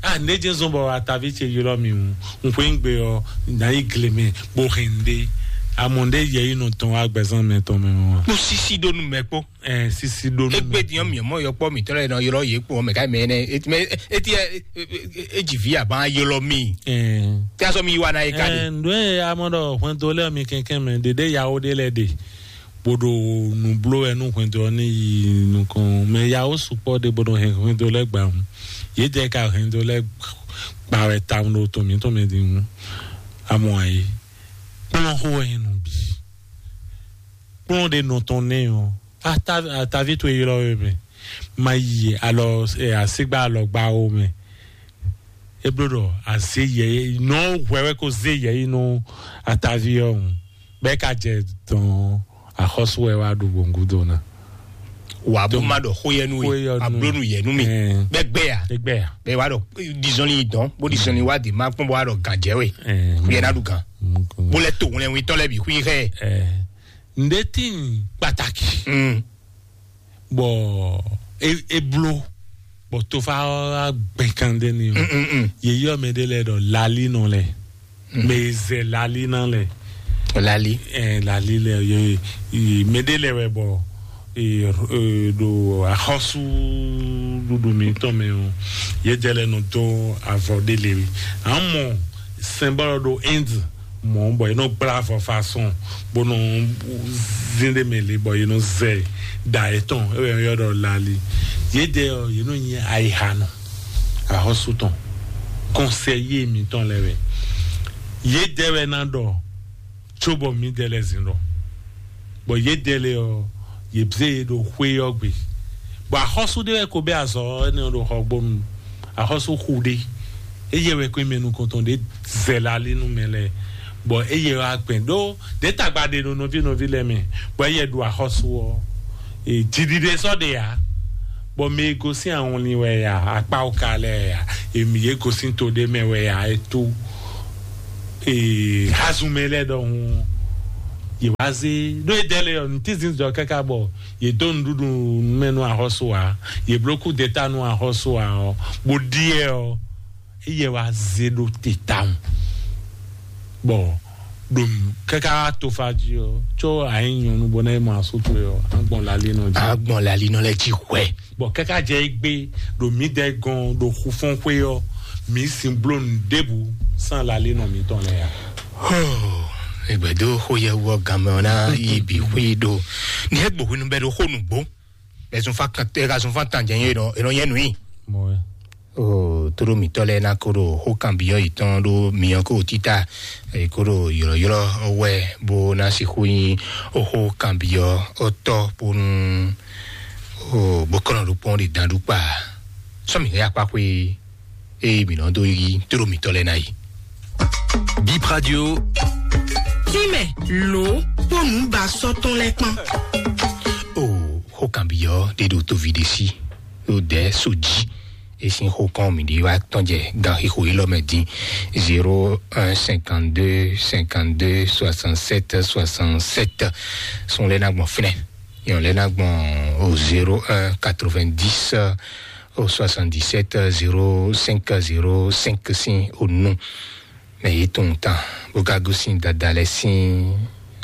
A ne jɛ zɔn bɔ atavi ce ylɔ mi ŋu. Ŋkwe ŋgbe ɔ, na yi gle mɛ bó hɛn ɖe. Amɔ ɖe yɛyinu tɔn agbɛzan mɛ tɔn mɛ wa. Kpó sisi ɖó nu mɛ kpó. Ɛ sisi ɖó nu. Egbe diɔ mi mɔ yɔkpɔ mi tɔlɛ nɔ ylɔ yě kpó mɛ ka mɛ nɛ. Eti mɛ eti ɛ e dzi vi aban ylɔ mi. Ɛ Tí a sɔ mi yi wa na ye ka de. Ndo ye amɔ ɖɔ hwɛndo lɛ mi kɛnkɛn mɛ ɖeɖe yawo ɖe lɛ ɖe. Boɖo nu blo wɛ nu hwɛndo ɔ ne yi nukɔn mɛ yawo sukpɔ ɖe boɖo hɛn hwɛndo lɛ gba ŋu. Ye jɛ ka hwɛndo lɛ gba wɛ ta ɖo to mi to mɛ di ŋu. Amɔ ayi. Kplɔn xo wɛ nu bi. Kplɔn ɖe nɔ tɔn nɛ ɔ. Atavi to ylɔ we mɛ. Ma yi alɔ asigba alɔgba wo mɛ. E bló ɖɔ azé yɛ nɔ hwɛ wɛ ko zé yɛ yi nú atavi ɔ́ ŋu. Bɛ́ ka jɛ dɔn axɔ́sú wɛ wá ɖu gbòǹgúdo ná. Wà á bó má ɖɔ xó yɛ nú we, ablónú yɛ nú mi. Bɛ́ gbɛ ya? Bɛ́ gbɛ ya? Bɛ́ wá ɖɔ dizɔnni yi dɔn bó dizɔnni wá di má kpɔn bó wá ɖɔ gǎn jɛ we. Xú yɛ ná ɖu gǎn. Bó lɛ to ŋlɛwin tɔn lɛ bǐ xú yi xɛ. Ǹdé tín pàtàkì. Bɔ e e blo bɔ tofa gbɛn kan ɖe ni o. Ye yɔ mɛ ɖe lɛ ɖɔ lali nɔ lɛ. Mɛ zɛ lali na lɛ. Lali. Ɛ lali lɛ ye ye mɛ ɖe lɛ wɛ bɔ e e ɖo axɔsu ɖuɖu mi tɔn mɛ o. Ye jɛ lɛ nɔ do avɔ ɖe le. Amɔ sɛnbɔlɔ ɖo Inde mɔ bɔ ye nɔ gbla avɔ façon bó nɔ zin ɖe mɛ le bɔ ye nɔ zɛ da etɔn ewɛ yɔ ɖɔ lali. Ye de ɔ ye nɔ nyi ayiha nɔ ahɔsu tɔn kɔnsɛyi mitɔn lɛ wɛ. Ye de wɛ na ɖɔ Tó bɔ mǐdɛɛ lɛ́ɛ zin ɖɔ, bɔ yědɛɛ lɛ́ɛ ɔ́, yě zé yě ɖo xwé ɔ́ gbe. Bɔ axɔ́sú ɖé wɛ ko bɛ́ azɔ̌ énɛ́ ɔ́ ɖo Xɔgbónu, axɔ́sú xu ɖé. Éyɛ́ wɛ kó mɛ nukɔntɔn ɖě zɛ la lí nú mɛ lɛ́ɛ, bɔ éyɛ́ wá gbɛn ɖó ɖě tagba ɖe ɖo nɔví nɔví lɛ́ɛ mɛ, bɔ éyɛ́ ɖo axɔ́sú ɔ́, e, jiɖiɖe sɔ́ ɖe ǎ, bɔ mɛ e gosín awɔnlin wɛ ya, akpáwúka lɛ́ɛ ya, èmì yě gosín to ɖé mɛ wɛ ya, é tó, ee, hazun mɛ lɛ́ɛ ɖɔhun, yě wá zé ɖó é dɛ́ lé ɔ́, nǔtínzin jɔ káká bɔ yě dó nǔɖuɖu mɛ nú axɔ́sú ǎ, yě bló kú deta nú axɔ́sú ǎ ɔ́, bó ɖíe ɔ́, éyɛ́ wá zé ɖó te tawun. Bɔ ɖo káká tofa jí ɔ́, có a nyí nyɔ̌nu bɔ ná yi mɔ asú towe ɔ́, á gbɔn lalínɔ jí. Á gbɔn lalínɔ lɛ́ɛ jí hwɛ. Bɔ káká jɛ égbé ɖo mǐdɛɛ gɔ́n ɖo xufɔ́nxwé ɔ́, mǐ sin bló nǔ ɖěbǔ sín lalínɔ mǐtɔn lɛ́ɛ ǎ. Hoo, egbɛdó xó yɛ wɔ ganmɛ ɔ́ ná yi bǐ xwí ɖo ní é gbǒ hwenu bɛ ɖo xó nǔgbó. Ɛzunfa kan ɛgazunfa tan jɛ nyɛ nɔ ɛnɔ nyɛ nui. Mɔɛ. O tóɖó mǐtɔ́ lɛ́ɛ ná kó ɖo xó kanbyɔ́ yětɔn ɖó myɔ kó títá, è kó ɖo ylɔ̌ylɔ́ wɛ bó ná sixú nyí xó kanbyɔ́ ɔ́ tɔ́ bónú o bó kɔn ɖo kpɔ́n ɖe dan ɖú kpa. Sɔ́ mǐ hɛn akpá xwé eye mǐ nɔ dó yí tóɖó mǐtɔ́ lɛ́ɛ ná yi. Bip Radio. Tínmɛ lǒ kpó nǔ ba sɔ́ tɔn lɛ́ɛ kpán. O xó kanbyɔ́ ɖé ɖo tóvi ɖé sí ɖo dɛ̌ so jí. E sín xó kɔn mǐ ɖi wá tɔn jɛ gan xixo élɔ́ mɛ din: zéro un cinquante-deux cinquante-deux soixante-sept soixante-sept. Sun lɛ́ɛ ná gbɔn fínɛ́, yɔn lɛ́ɛ ná gbɔn o zéro un quatre-vingt-dix o soixante-dix-sept zéro cinq zéro cinq sín o nu. Mɛ yě tunwun tán bó ka gosín dada lɛ́ɛ sín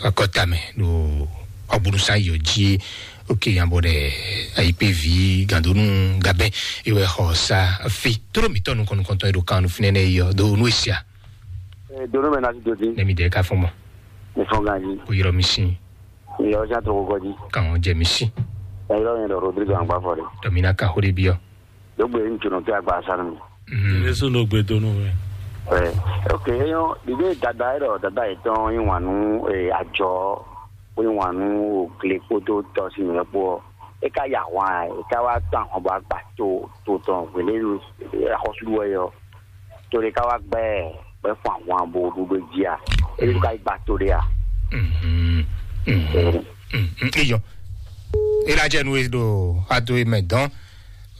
akɔta mɛ ɖo ɔgbónúsán yɔ jí. Oke yan bɔ ɖɛ ayikpévi gandonu gabɛ ewɛ xɔ sa fi toro mitɔ nukɔn nukɔntɔn e ɖo kan nu finɛ nɛ yɔ do nu esia. Dono mɛ na ti do di. Nɛmi dɛ ka fɔn mɔ. Mi fɔn ganji. O yɔrɔ mi sin. Mi yɔrɔ jan to kɔkɔ di. Kan jɛ mi sin. Ɛ yɔrɔ yɛn dɔ Rodrigo Angba fɔ de. Dɔmina ka xo de biɔ. Dogbe ŋutsu nɔ kí agba sanu. Jésù ló gbé dónú rẹ̀. Ɛ, ok, eyɔn ɖiɖe dada yɛ dɔ dada yɛ tɔn yin wanu, ɛ, ajɔ, ko yin wanu, o gle kpódó tɔ si nyɛ kpó. E ka ya hwan, e ka wá tán hɔn bɔ agba to to tɔn wele axɔsu wɛ yɔ. To de ka wá gbɛ gbɛ fún àwọn abo gbogbo jí a. E ka gba to de a. Mhm. Mhm. Mhm. Iyɔ. E la jɛ nu e ɖo ado e mɛ dɔn.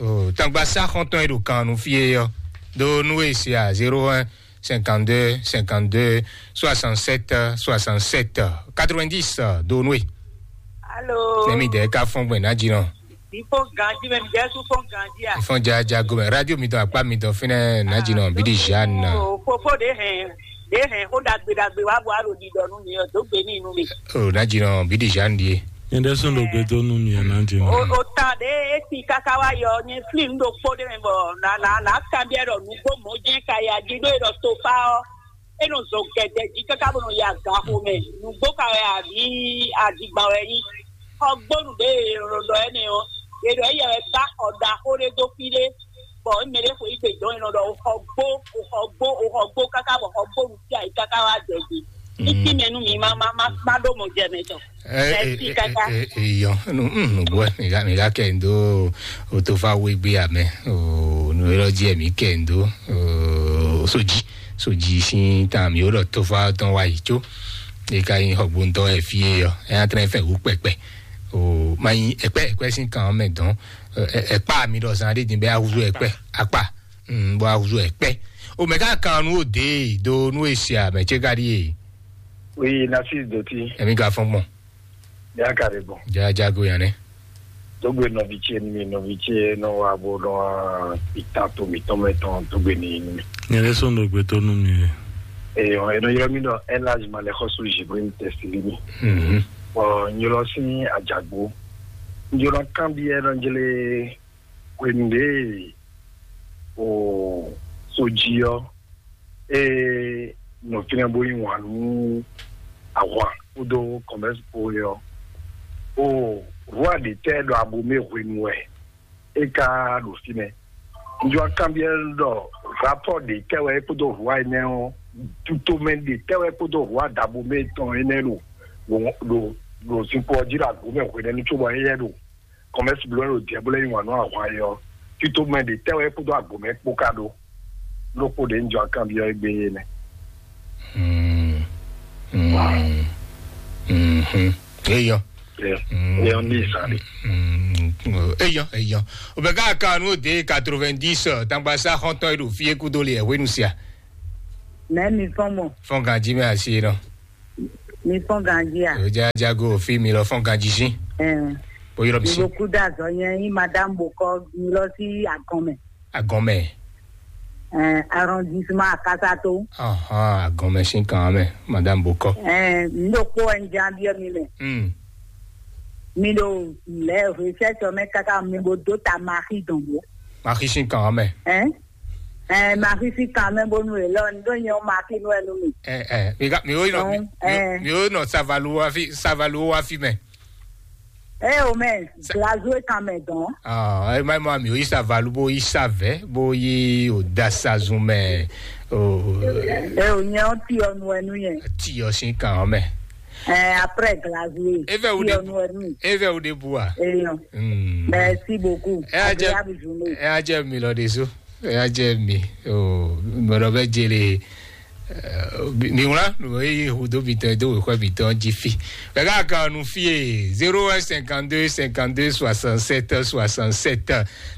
O tangba sa xɔntɔn e ɖo kan nu fie yɔ. Do nu e se a zéro un cinquante-deux cinquante-deux soixante-sept soixante-sept quatre-vingt-dix do nu e. Alo. Nɛmi dɛ ka fɔn gbɛ na dzi nɔ. Ifo ganji mɛ mi jɛ su fɔn ganji a. Ifɔn ja ja gomɛ radio mi dɔn akpa mi dɔn finɛ na dzi nɔ bidi jeanne. O fofo de hɛn de hɛn ko dagbe dagbe wa bɔ alo di dɔ nu mi o do gbe ni nu mi. O na dzi nɔ bidi jeanne die. Nyɛ ɖe sɔn ɖo gbe dó nú mi ɛ na dzi nɔ. O o ta de esi kaka wa yɔ nye fli nu ɖo kpó de mɛ bɔ na na na kan biɛ ɖɔ nugbo mɔ jɛ ka ya dzi ɖo e ɖɔ tofa ɔ. E nɔ zɔ gɛdɛ jí káká bó nɔ yi agaxo mɛ. Nǔgbó ka wɛ àbí adigban wɛ nyí? Xɔgbónu ɖě e nɔ ɖɔ énɛ́ ɔ́, è ɖɔ éyɛ wɛ gbá xɔ ɖaxó ɖé dó fí ɖé, bɔ mɛ ɖé xweyǐgbe dɔn è nɔ ɖɔ xɔgbó, xɔgbó, xɔgbó káká bɔ xɔgbónu sí ayǐ káká wá jɛ gbe. Títí mɛ nú mi má má má má ɖó mɔ jɛ mɛ tɔn. Ɛ ɛ Merci, ɛ Kaka. Ɛ ɛ yɔ nu mm nu bɔ mi ka mi ka kɛ ndo o to fa wo egbe amɛ o nu yɔrɔ di ɛ mi kɛ ndo o soji soji sin tan mi o ɖɔ to fa tɔn wa yi tso e ka yin xɔgbóntɔ ɛ fie yɔ ɛ atrɛ fɛ wu kpɛkpɛ o ma yin ɛkpɛ ɛkpɛ sin kan mɛ dɔn ɛ ɛkpa mi ɖɔ zan ɖe din bɛ awuzu ɛkpɛ akpa mm bɔ awuzu ɛkpɛ o mɛ ka kan nu o de do nu e se amɛ tse ka ɖi e. Oui, Narcisse Doti. Emi ka fɔn gbɔn. Yakare bɔ. Jajago yan nɛ. Dogbe nɔvi ce ni mi nɔvi ce nɔ wa bo nɔ itan to mi tɔn mɛ tɔn dogbe ni ni mi. Nyɛ ɖe sɔn dogbe to nu mi. Eyɔ, eno yɔrɔ mi dɔ elage ma le xɔsu Jibril tɛsili mi. Mhm. Bɔ nyɔlɔ sin ajagbo. Nyɔlɔ kan bi ɛ nɔ jele hwenu de o soji ɔ. Ee, nɔ fínɛ́ bó yí wǎn nú ahwan kpódó kɔmɛ́si kpó é ɔ́, o rwa ɖě tɛ́ ɖɔ abomɛ hwenu wɛ é ka ɖo fínɛ́? Un jɔ kanbyɔ́ ɖɔ rapɔ́ ɖě tɛ́ wɛ é kpódó rwa énɛ́ ɔ́ Tutomɛ ɖe tɛ́ wɛ kpódó hǔ adabomɛ tɔn énɛ́ ɖo ɖo ɖo ɖo zinkpo ɔ́ jí ɖo agbǒ mɛ hwenɛ́nu cóbɔ éyɛ́ ɖo kɔmɛ́si bló ɖo jɛ bó lɛ́ yí wǎn nú ahwan é ɔ́, tutomɛ ɖe tɛ́ wɛ kpódó agbǒ mɛ kpó ka ɖó? Lókpó ɖě un jɔ akanbyɔ́ égbé é nɛ́. Mm. Mm. Mhm. Eyɔ. Eyɔ ní ìsàlẹ̀. Eyɔ, eyɔ. Obɛga kanu de quatre-vingt-dix, tangba sa xɔntɔn e ɖo fie kudo le hwenu sia. Mɛ mi fɔn mɔ, Fɔn ganji mɛ asi nɔ. mi fɔn ganji a? O ja jago fi mi lɔ fɔn ganji si. Ɛn, O yɔrɔ mi si. Iboku da zɔ nyɛ yi madame bokɔ mi lɔ si agɔn mɛ. Agɔmɛ. Ɛn, arrondissement Akasato. Ahɔn agɔmɛ si kan mɛ, madame bokɔ. Ɛn, n ɖo kpó ɛn jan biɛ mi mɛ. Hmm. Mi ɖo lɛ recherche mɛ kaka mi bo do ta maxi dɔn bo. Maxi si kan mɛ. Ɛn, ɛn, maxi si kan mɛ bonu e lɔ n ɖo nyɛ o maxi nu ɛnu mi. Ɛ ɛ mi ka mi o nɔ mi Ɛ. mi o nɔ savalu wa fi savalu wa fi mɛ. Ɛ o mɛ glazo e kan mɛ dɔn. Ah, ɛ ma ma mi o yi savalu bo yi savɛ bo yi o dasa zun mɛ. O Ɛ o nyɛ o ti ɔnu ɛnu yɛ. Ti yɔ si kan mɛ. Ɛ, après glazo e. Eve o Ti de ɔnu ɛnu. Eve o de bua. Eyɔ. Hmm. Merci beaucoup. Ɛ a jɛ Agréable journée. Ɛ a jɛ mi lɔ de so. Ɛ a jɛ mi. O mɔdɔ bɛ jele. Mi wla mi yi hudo mi tɔn do wekɔ mi tɔn ji fi. Bɛ ka kan nu fie zéro un cinquante-deux cinquante-deux soixante-sept soixante-sept.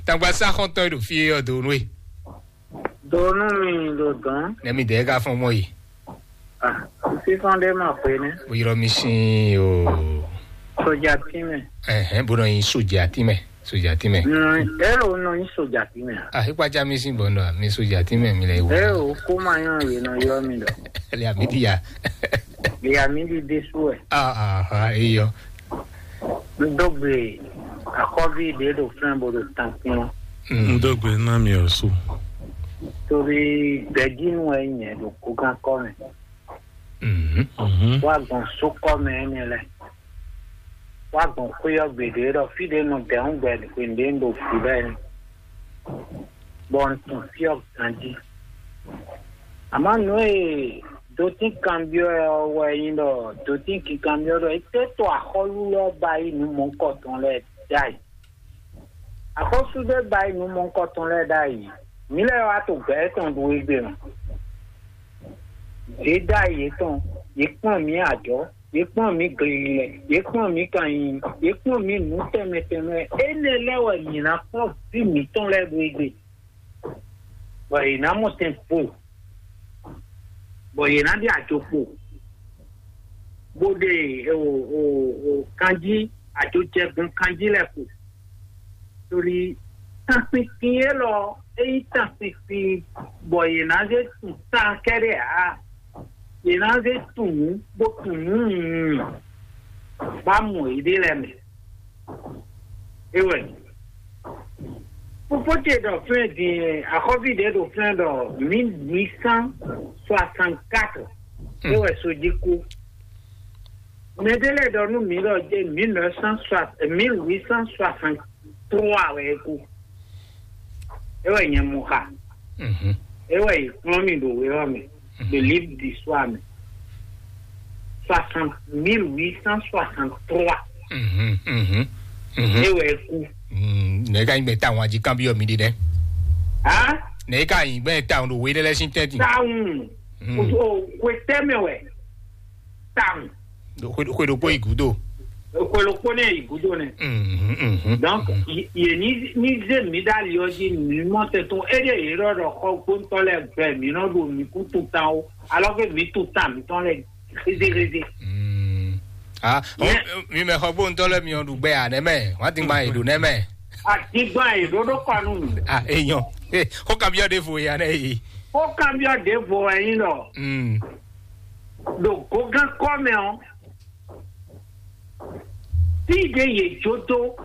Tangba sa xɔntɔn ɖo fie yɔ do nue. Donu mi ɖo dɔn. Ne mi de ka fɔn mɔ yi. Ah, fífɔn ɖé mà pé ní. Bo yɔrɔ mi sin o. Sɔjà tí mɛ. Ɛhɛn, bo nɔ yin soja ti mɛ. Soja ti mɛ. Èrò nɔ yín sɔjà tí mɛ. Ah, ipa ja mi sin bɔ nɔ mi soja ti mɛ mi lɛ wo. Èrò kó máa yàn yìí nà yọ mi lọ. Lɛ mi di ya. Ìyá mi di dé sú ẹ̀. Ah, ah, ah, eyɔ. Dógbe àkọ́bí ìdè ɖo fún ẹ̀ bó ɖo tán fún wọn. N dó gbe ná mi ɔ̀sùn. Torí gbẹ̀dínú ẹ̀ yẹn ɖo kókán kọ́ mẹ́. Mhm. Mhm. Wá gbọ̀n sókọ́ mẹ́ ẹ̀ lẹ̀. Wá gbọ̀n kúyọ̀ gbèdé ɖɔ fí ɖé nɔ dɛ̀hún gbẹ̀dé gbèdé ń ɖo fú bẹ́ẹ̀ ni. Bɔ n tún fí ọ̀ ganjí. Àmọ́ nú è dótín kanbyɔ́ ɛ ɔ́ wɛ nyí ɖɔ dótín kinkanbyɔ́ ɖɔ é tɛ́ to axɔ́lú lɛ́ɛ ba yí nǔ mɔ̌hunkɔtɔn lɛ́ɛ ɖ'ayǐ. Axɔ́sú ɖé ba yí nǔ mɔ̌hunkɔtɔn lɛ́ɛ ɖ'ayǐ. Mǐ lɛ́ɛ wá to gbɛ̌ tɔn ɖu égbé mɛ. Yě ɖ'ayǐ yětɔn, yě kplɔ́n mǐ ajɔ̌, yě kplɔ́n mǐ glililɛ, yě kplɔ́n mǐ kanyiyi, yě kplɔ́n mǐ nǔ tɛnmɛ tɛnmɛ. Énɛ́ lɛ́ɛ wɛ mǐ ná kplɔ́n vǐ mǐtɔn lɛ́ɛ ɖu égbé. Bɔ yě ná mɔ tɛn po, bɔ yě ná ɖe ajo kpo, bó ɖe o o o kanjí, ajo jɛ gbɔn kanjí lɛ́ɛ kpo. Torí tánpinpin élɔ́, é nyí tánpinpin bɔ yě ná zé tun tán kɛ́ɖɛ́ ǎ. Yě ná zé tun nǔ bó tun nǔ nyunyun bá mɔ yěɖée lɛ́ɛ mɛ. É wɛ. Fofó ce ɖɔ flɛ́n din, axɔ́ví ɖě ɖo flɛ́n ɖɔ mille huit cent soixante-quatre. É wɛ so jí kú. Mɛ ɖé lɛ́ɛ ɖɔ nú mǐ ɖɔ jɛ mille neuf cent soixante, mille huit cent soixante-trois wɛ é kú. É wɛ nyɛ mɔ xa. Mhm. É wɛ yě kplɔ́n mì ɖo wé ɔ́ mɛ, ɖo livre d'histoire mɛ. Soixante, mille huit cent soixante-trois. Mhm. Mhm. Mhm. É wɛ é kú. Mm, ne ka nyigbe ta wan ji kan bi mi di dɛ. Hã? Ne ka nyigbe ta wan do we de lɛ sin tɛti. Táwọn. Mm. O o kwe tɛmɛ wɛ. Táwọn. Kwe do kwe igudo. Kwe ló kpó ní ìgúdó nɛ. Mhm. Mhm. Donc, yé ní ní zé mi dá li ɔ́ jí mi mɔ tɛtún é ɖe yě ɖɔ ɖɔ xɔ gbóntɔ́ lɛ gbɛ mi nɔ ɖo mi kú tún tán o, alors que mi tún tán mi tɔn lɛ rézérézé. Mm. Ah, Yeah. oh, mi mɛ xɔ gbóntɔ́ lɛ mi ɔ́ ɖu gbɛ à nɛmɛ, wọ́n ti gba èdò nɛmɛ. Àdìgbà ìdódó kanu mi. Ah, èèyàn. Eh, kó kan bí ọdẹ fò ya nẹ yìí. Ó kàn bí ọ̀dẹ́ vò ẹ̀yin lọ. Mm. Ɖo gogán kɔ́ mɛ ɔ́, fí ɖě yě jó dó,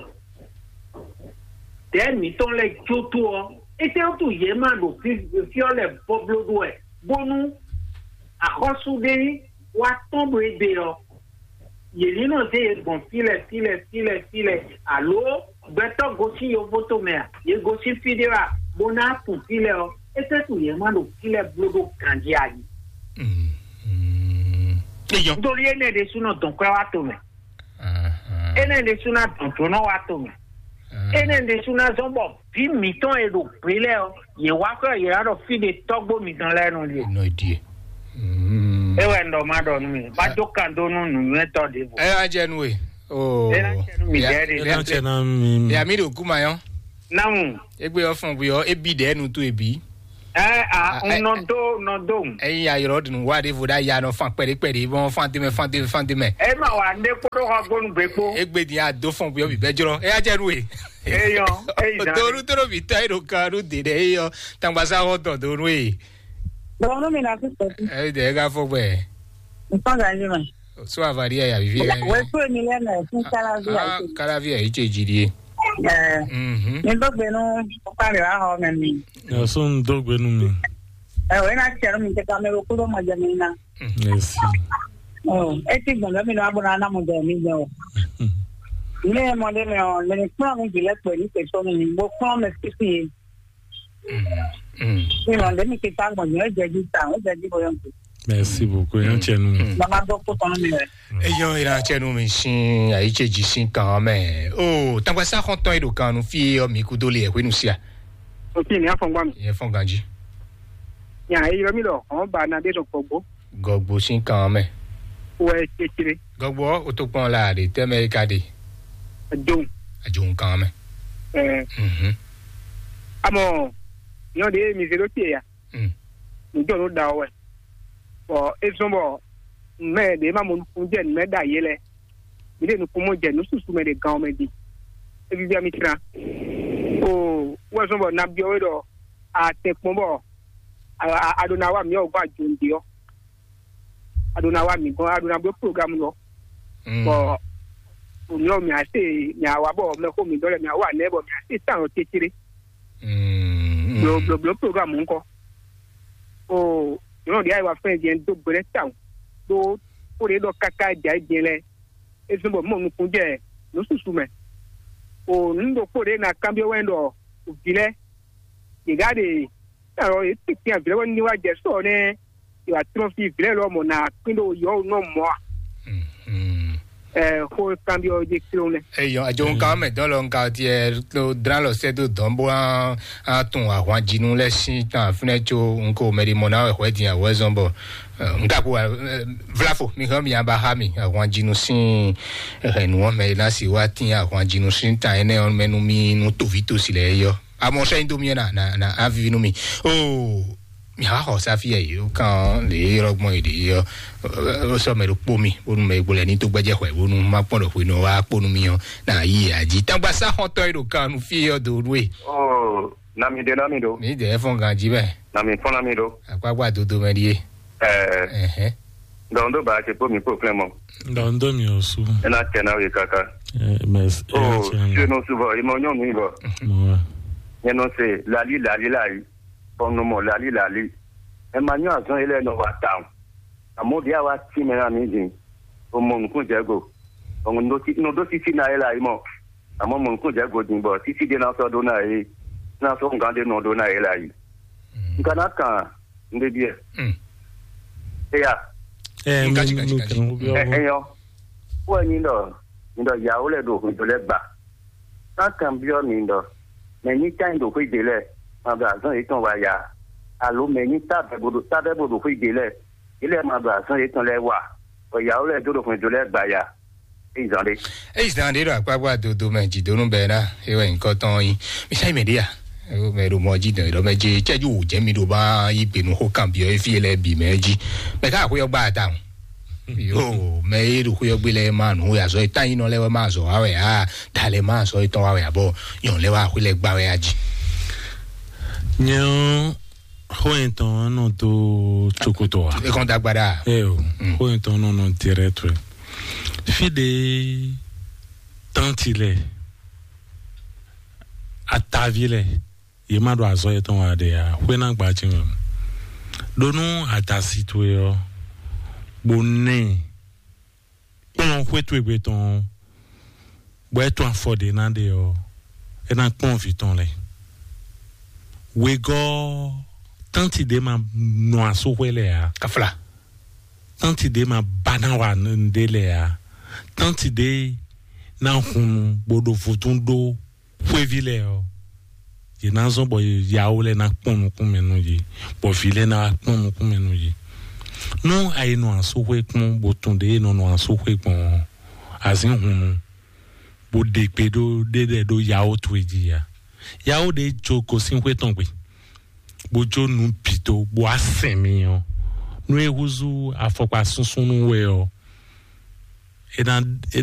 ɖɛ̌ mǐtɔn lɛ́ɛ jó dó ɔ́, étɛ́wútu yě ma ɖo fí fí ɔ́ lɛ́ɛ bɔbló ɖó wɛ, bónú axɔ́sú ɖé wá tɔ́n ɖo égbé ɔ́, yě ní nɔ zé yě gbɔn fí lɛ́ɛ, fí lɛ́ɛ, fí lɛ́ɛ, fí lɛ́ɛ, alo gbɛtɔ́ gosín yovótomɛ a, yě gosín fí ɖé wɛ a, bó ná kun fí lɛ́ɛ ɔ́, étɛ́wútu yě ma ɖo fí lɛ́ɛ bló ɖó ganjí a jí? Eyɔn. Nítorí énɛ́ ɖésú nɔ dɔn kwɛ́ wá to mɛ. Énɛ́ ɖésú ná dɔn jǒnɔ wá to mɛ. Énɛ́ ɖésú ná zɔ́n bɔ vǐ mǐtɔn e ɖo gbě lɛ́ɛ ɔ́, yě wá xwɛ yě wá ɖɔ fí ɖe tɔ́gbó mitɔn lɛ́ɛ nɔ ɖie. Nɔ ɖie. É wɛ un ɖɔ ma ɖɔ nú mi, ma jó kan dó nú nǔnywɛ́tɔ́ ɖěvo. Ɛ wá jɛ nú we. Oh. É ná jɛ nú mi jɛ ɖe. É ná jɛ ná mi. Ya mi ɖo kuma yɔn. Namu. Egbe ɔfɔn gbe ɔ ebi ɖe nu to ebi. Ɛ a un nɔ dó nɔ dó. Eyi ayɔrɔ dunu wa ɖe vo ɖa ya nɔ fan kpɛɖe kpɛɖe bɔn fan tɛmɛ fan tɛmɛ fan tɛmɛ. E ma wa ne kpɔɖɔ xɔ gbɔnu gbe kpo. Egbe di a do fɔn gbe ɔ bi bɛ jrɔ e ya jɛ nu e. Eyɔn, eyi zan. Doru toro bi tɔ e ɖo kan ɖo de ɖe eyɔ tangbasa xɔ dɔn do nu e. Bɔn nu mi na fi sɔti. Ɛ de e ka fɔ gbɛ. Nsɔn ganji ma. So avali ya ya vivi ya. Wɛ so emi lɛ na e fun kalavi ya. Kalavi ya yi ce ji die. Ɛ. Mhm. Mi gbɛgbɛ nu kpali wa xɔ mɛ mi. Yasɔn dó gbe nú mi. Ɛ o, ena tiɛ nú mi tɛ kame ɖo kúɖó mɔ jɛ mi ná. Merci. Ɔ, eti gbɔn lɛ mi nɔ abo na na mɔ jɛ mi jɛ o. Ne mɔ ɖe mɛ ɔ, le ni kplɔn mi jilɛ kpɛ ni kpɛ sɔ mi bo kplɔn mɛ sisi ye. Mi nɔ ɖe mi kita gbɔn nyɛ jɛ ji ta, o jɛ ji bo yɔn. Merci beaucoup. Yan tiɛ nú mi. Baba dɔ ko tɔn mi wɛ. Eyɔn ira tiɛ nú mi sin ayi ce ji sin kan mɛ. O, tangba sa xɔntɔn e ɖo kan nu fi ɔ mi kudo le ɛ hwenu sia. Ok, ni afɔngba mi. Yɛ fɔn ganji. Nya eyɔ mi lɔ, ɔn ba na de dɔ gbɔgbɔ. Gɔgbo sin kan mɛ. Wɛ kekere. Gɔgbo o to kpɔn la de tɛmɛ e ka de. Adon. Adon kan mɛ. Ɛ. Mhm. Amɔ, yɔ de mi zero tie ya. Mm. Nǔ jɔ nú ɖa ɔ́ wɛ. Bɔ é zɔ́n bɔ mɛ ɖě ma mɔ nukúnnú jɛ nǔ mɛ ɖo ayé lɛ́ɛ. Mi ɖe nukúnnú jɛ nǔ susu mɛ ɖě gán ɔ́ mɛ ɖi. É víví mi tlán. O wɛ zɔ́n bɔ nabyɔ́ we ɖɔ a tɛn kpɔ́n bɔ a ɖo ná wa mǐ ɔ́ gbɔn ajɔ̌nɖe ɔ́. A ɖo ná wa mǐ gɔ́n, a ɖo ná bló programu lɔ. Bɔ mǐ ɔ́ mǐ á se mǐ á wa bɔ mɛxó mǐ dɔ́ lɛ mǐ á wa nɛ́ bɔ mǐ á se tán ɔ́ cécéré. Blǒblǒblǒ programu ŋkɔ. O nyɔ̌nu ɖě ayǐ wá fɛ́n jɛ́n dó gbe lɛ́ tawun ɖó xó ɖě ɖɔ káká jǎ é jɛ́n lɛ́ɛ. É zɔ́n bɔ mɔ nukún jɛ nǔ susu mɛ. O nǔ ɖokpó ɖě ná kanbyɔ́ wɛ ɖɔ vǐ lɛ́ɛ yě gá ɖe alɔ yě tɛ́ntin avǐ lɛ́ɛ wɛ ní wá jɛ sɔ nɛ́ yě wá tlɔ́n fí vǐ lɛ́ɛ lɔ mɔ ná kpín ɖo yɔ̌ nɔ mɔ a. Ɛ xó kanbyɔ́ jɛ kí ló nɛ. Eyɔ ajo nkan mɛ dɔn lɔ nkan tiɛ to dran lɔ sɛ do dɔn bo an an tun ahwan jinu lɛ sin tan fínɛ tso nko mɛ di mɔ na wɛ hwɛ din awɛ zɔn bɔ nka ko vlafo mi hɛn mi aba ha mi ahwan jinu sin hɛn nu wɔn mɛ na si wa tin ahwan jinu sin tan ɛnɛ wɔn mɛ nu mi nu tovi to si lɛ yɔ amɔ sɛ nyi do mi na na na avivi nu mi o. Mìaxɔ xɔ sáfì ɛ yìí kan lè yɔrɔ gbɔn èdè yɔ ó sɔ mɛ ɖo kpó mi bónú mɛ gbó lɛ ní tó gbɛjɛ xɔ ɛ bónú má kpɔn ɖɔ xwenu wa kpónú mi ɔ na yí ɛ adzi tangba sá xɔtɔ yìí ɖo kan nu fí yɔ do ɖu ɛ. Oh, nami de nami do. Mi dɛ fɔn gan dzi mɛ. Nami fɔn nami do. Akpakpa dodo mɛ ɖie. Ɛɛ. Ɛhɛn. Donc ndo ba se kpó mi kpó klɛn mɔ. Donc ndo mi osu. Ena tɛ na ye kaka. Ɛɛ mɛ. Oh, se no subɔ imɔ nyɔnu ibɔ. Mɔ. Nyɛ nɔ se lali lali la yi. Bɔn nɔ mɔ lali lali. Ɛ ma nyɔ azɔn yɛ lɛ nɔ wa tawun. Amɔ bi awa ti mɛ na mi din. O mɔ nukun jɛ go. Bɔn nɔ do titi na yɛ la yi mɔ. Amɔ mɔ nukun jɛ go din bɔ titi de na sɔ do na ye. Na sɔ nkan de nɔ do na yɛ la yi. Nka na kan n de biɛ. Eya. Ɛ mi mi kan ko bi ɔ. Ɛ yɔ. Ko ɛ nyi dɔ nyi dɔ yawo lɛ do hun do lɛ gba. Kan kan biɔ mi dɔ mɛ nyi kan do xwe de lɛ. Ma do azɔn yetɔn wa ya. Alo mɛ nyi ta bɛ bo do ta bɛ bo do xwe de lɛ. Ilé ma do azɔn yetɔn lɛ wa. Bɔ yawo lɛ do do hun do lɛ gba ya. Eyi zan ɖe. Eyi zan ɖe ɖo akpakpa dodo mɛ jidonu bɛ na ewɛ nyikɔ tɔn yi. Misa yi mɛ ɖe ya. Ewo mɛ ɖo mɔ ji dɔn ɖɔ mɛ je cɛju wò jɛ mi ɖo ba yi gbenu xo kan biɔ efi lɛ bi mɛ ji. Mɛ ka xo yɔ gba ta o. Yo mɛ ye ɖo xo yɔ gbe lɛ ma nu ya zɔ eta yi nɔ lɛ wɛ ma zɔ wa wɛ a da lɛ ma zɔ etɔn wa wɛ abɔ yɔn lɛ wa xo lɛ gba wɛ a ji. Nyɛ ɔ xó yẹn tɔn nɔ dó tsokoto wa. Ekɔn dagbada. Ɛ o xó yẹn tɔn nɔ nɔ direct wɛ. Fi ɖe tɔnti lɛ atavi lɛ ye ma ɖo azɔ yetɔn wa ɖe ya xwena gbaji mɛ ɖo nú adasi towe ɔ bo nɛ kplɔn xwé towe gbe tɔn bɔ é tún afɔ ɖě ná ɖe ɔ́ é ná kpɔ́n vǐ tɔn lɛ́ɛ. Wegɔ́ Tánti ɖé ma nɔ asúxwé lɛ ǎ. Kafla. Tánti ɖé ma ba ná wa nɖé lɛ ǎ. Tánti ɖé ná hun bó ɖo vodún ɖó xwéví lɛ ɔ́, yě ná zɔ́n bɔ yawo lɛ ná kpɔn nukún mɛ nú yě, bɔ vǐ lɛ ná wá kpɔn nukún mɛ nú yě. Nú a yi nɔ asúxwé kpɔ́n bó tunwun ɖě e nɔ nɔ asúxwé gbɔn ɔ́, azǐn hunnu bó ɖe gbe ɖó ɖé lɛ́ɛ ɖó yawo towe jí ya. Yawo ɖé jó gosín xwé tɔn gbe, bó jó nǔ bǐ dó, bó wá sɛn mi ɔ́, nú é húzú afɔkpa súnsún nú we ɔ́, é ná é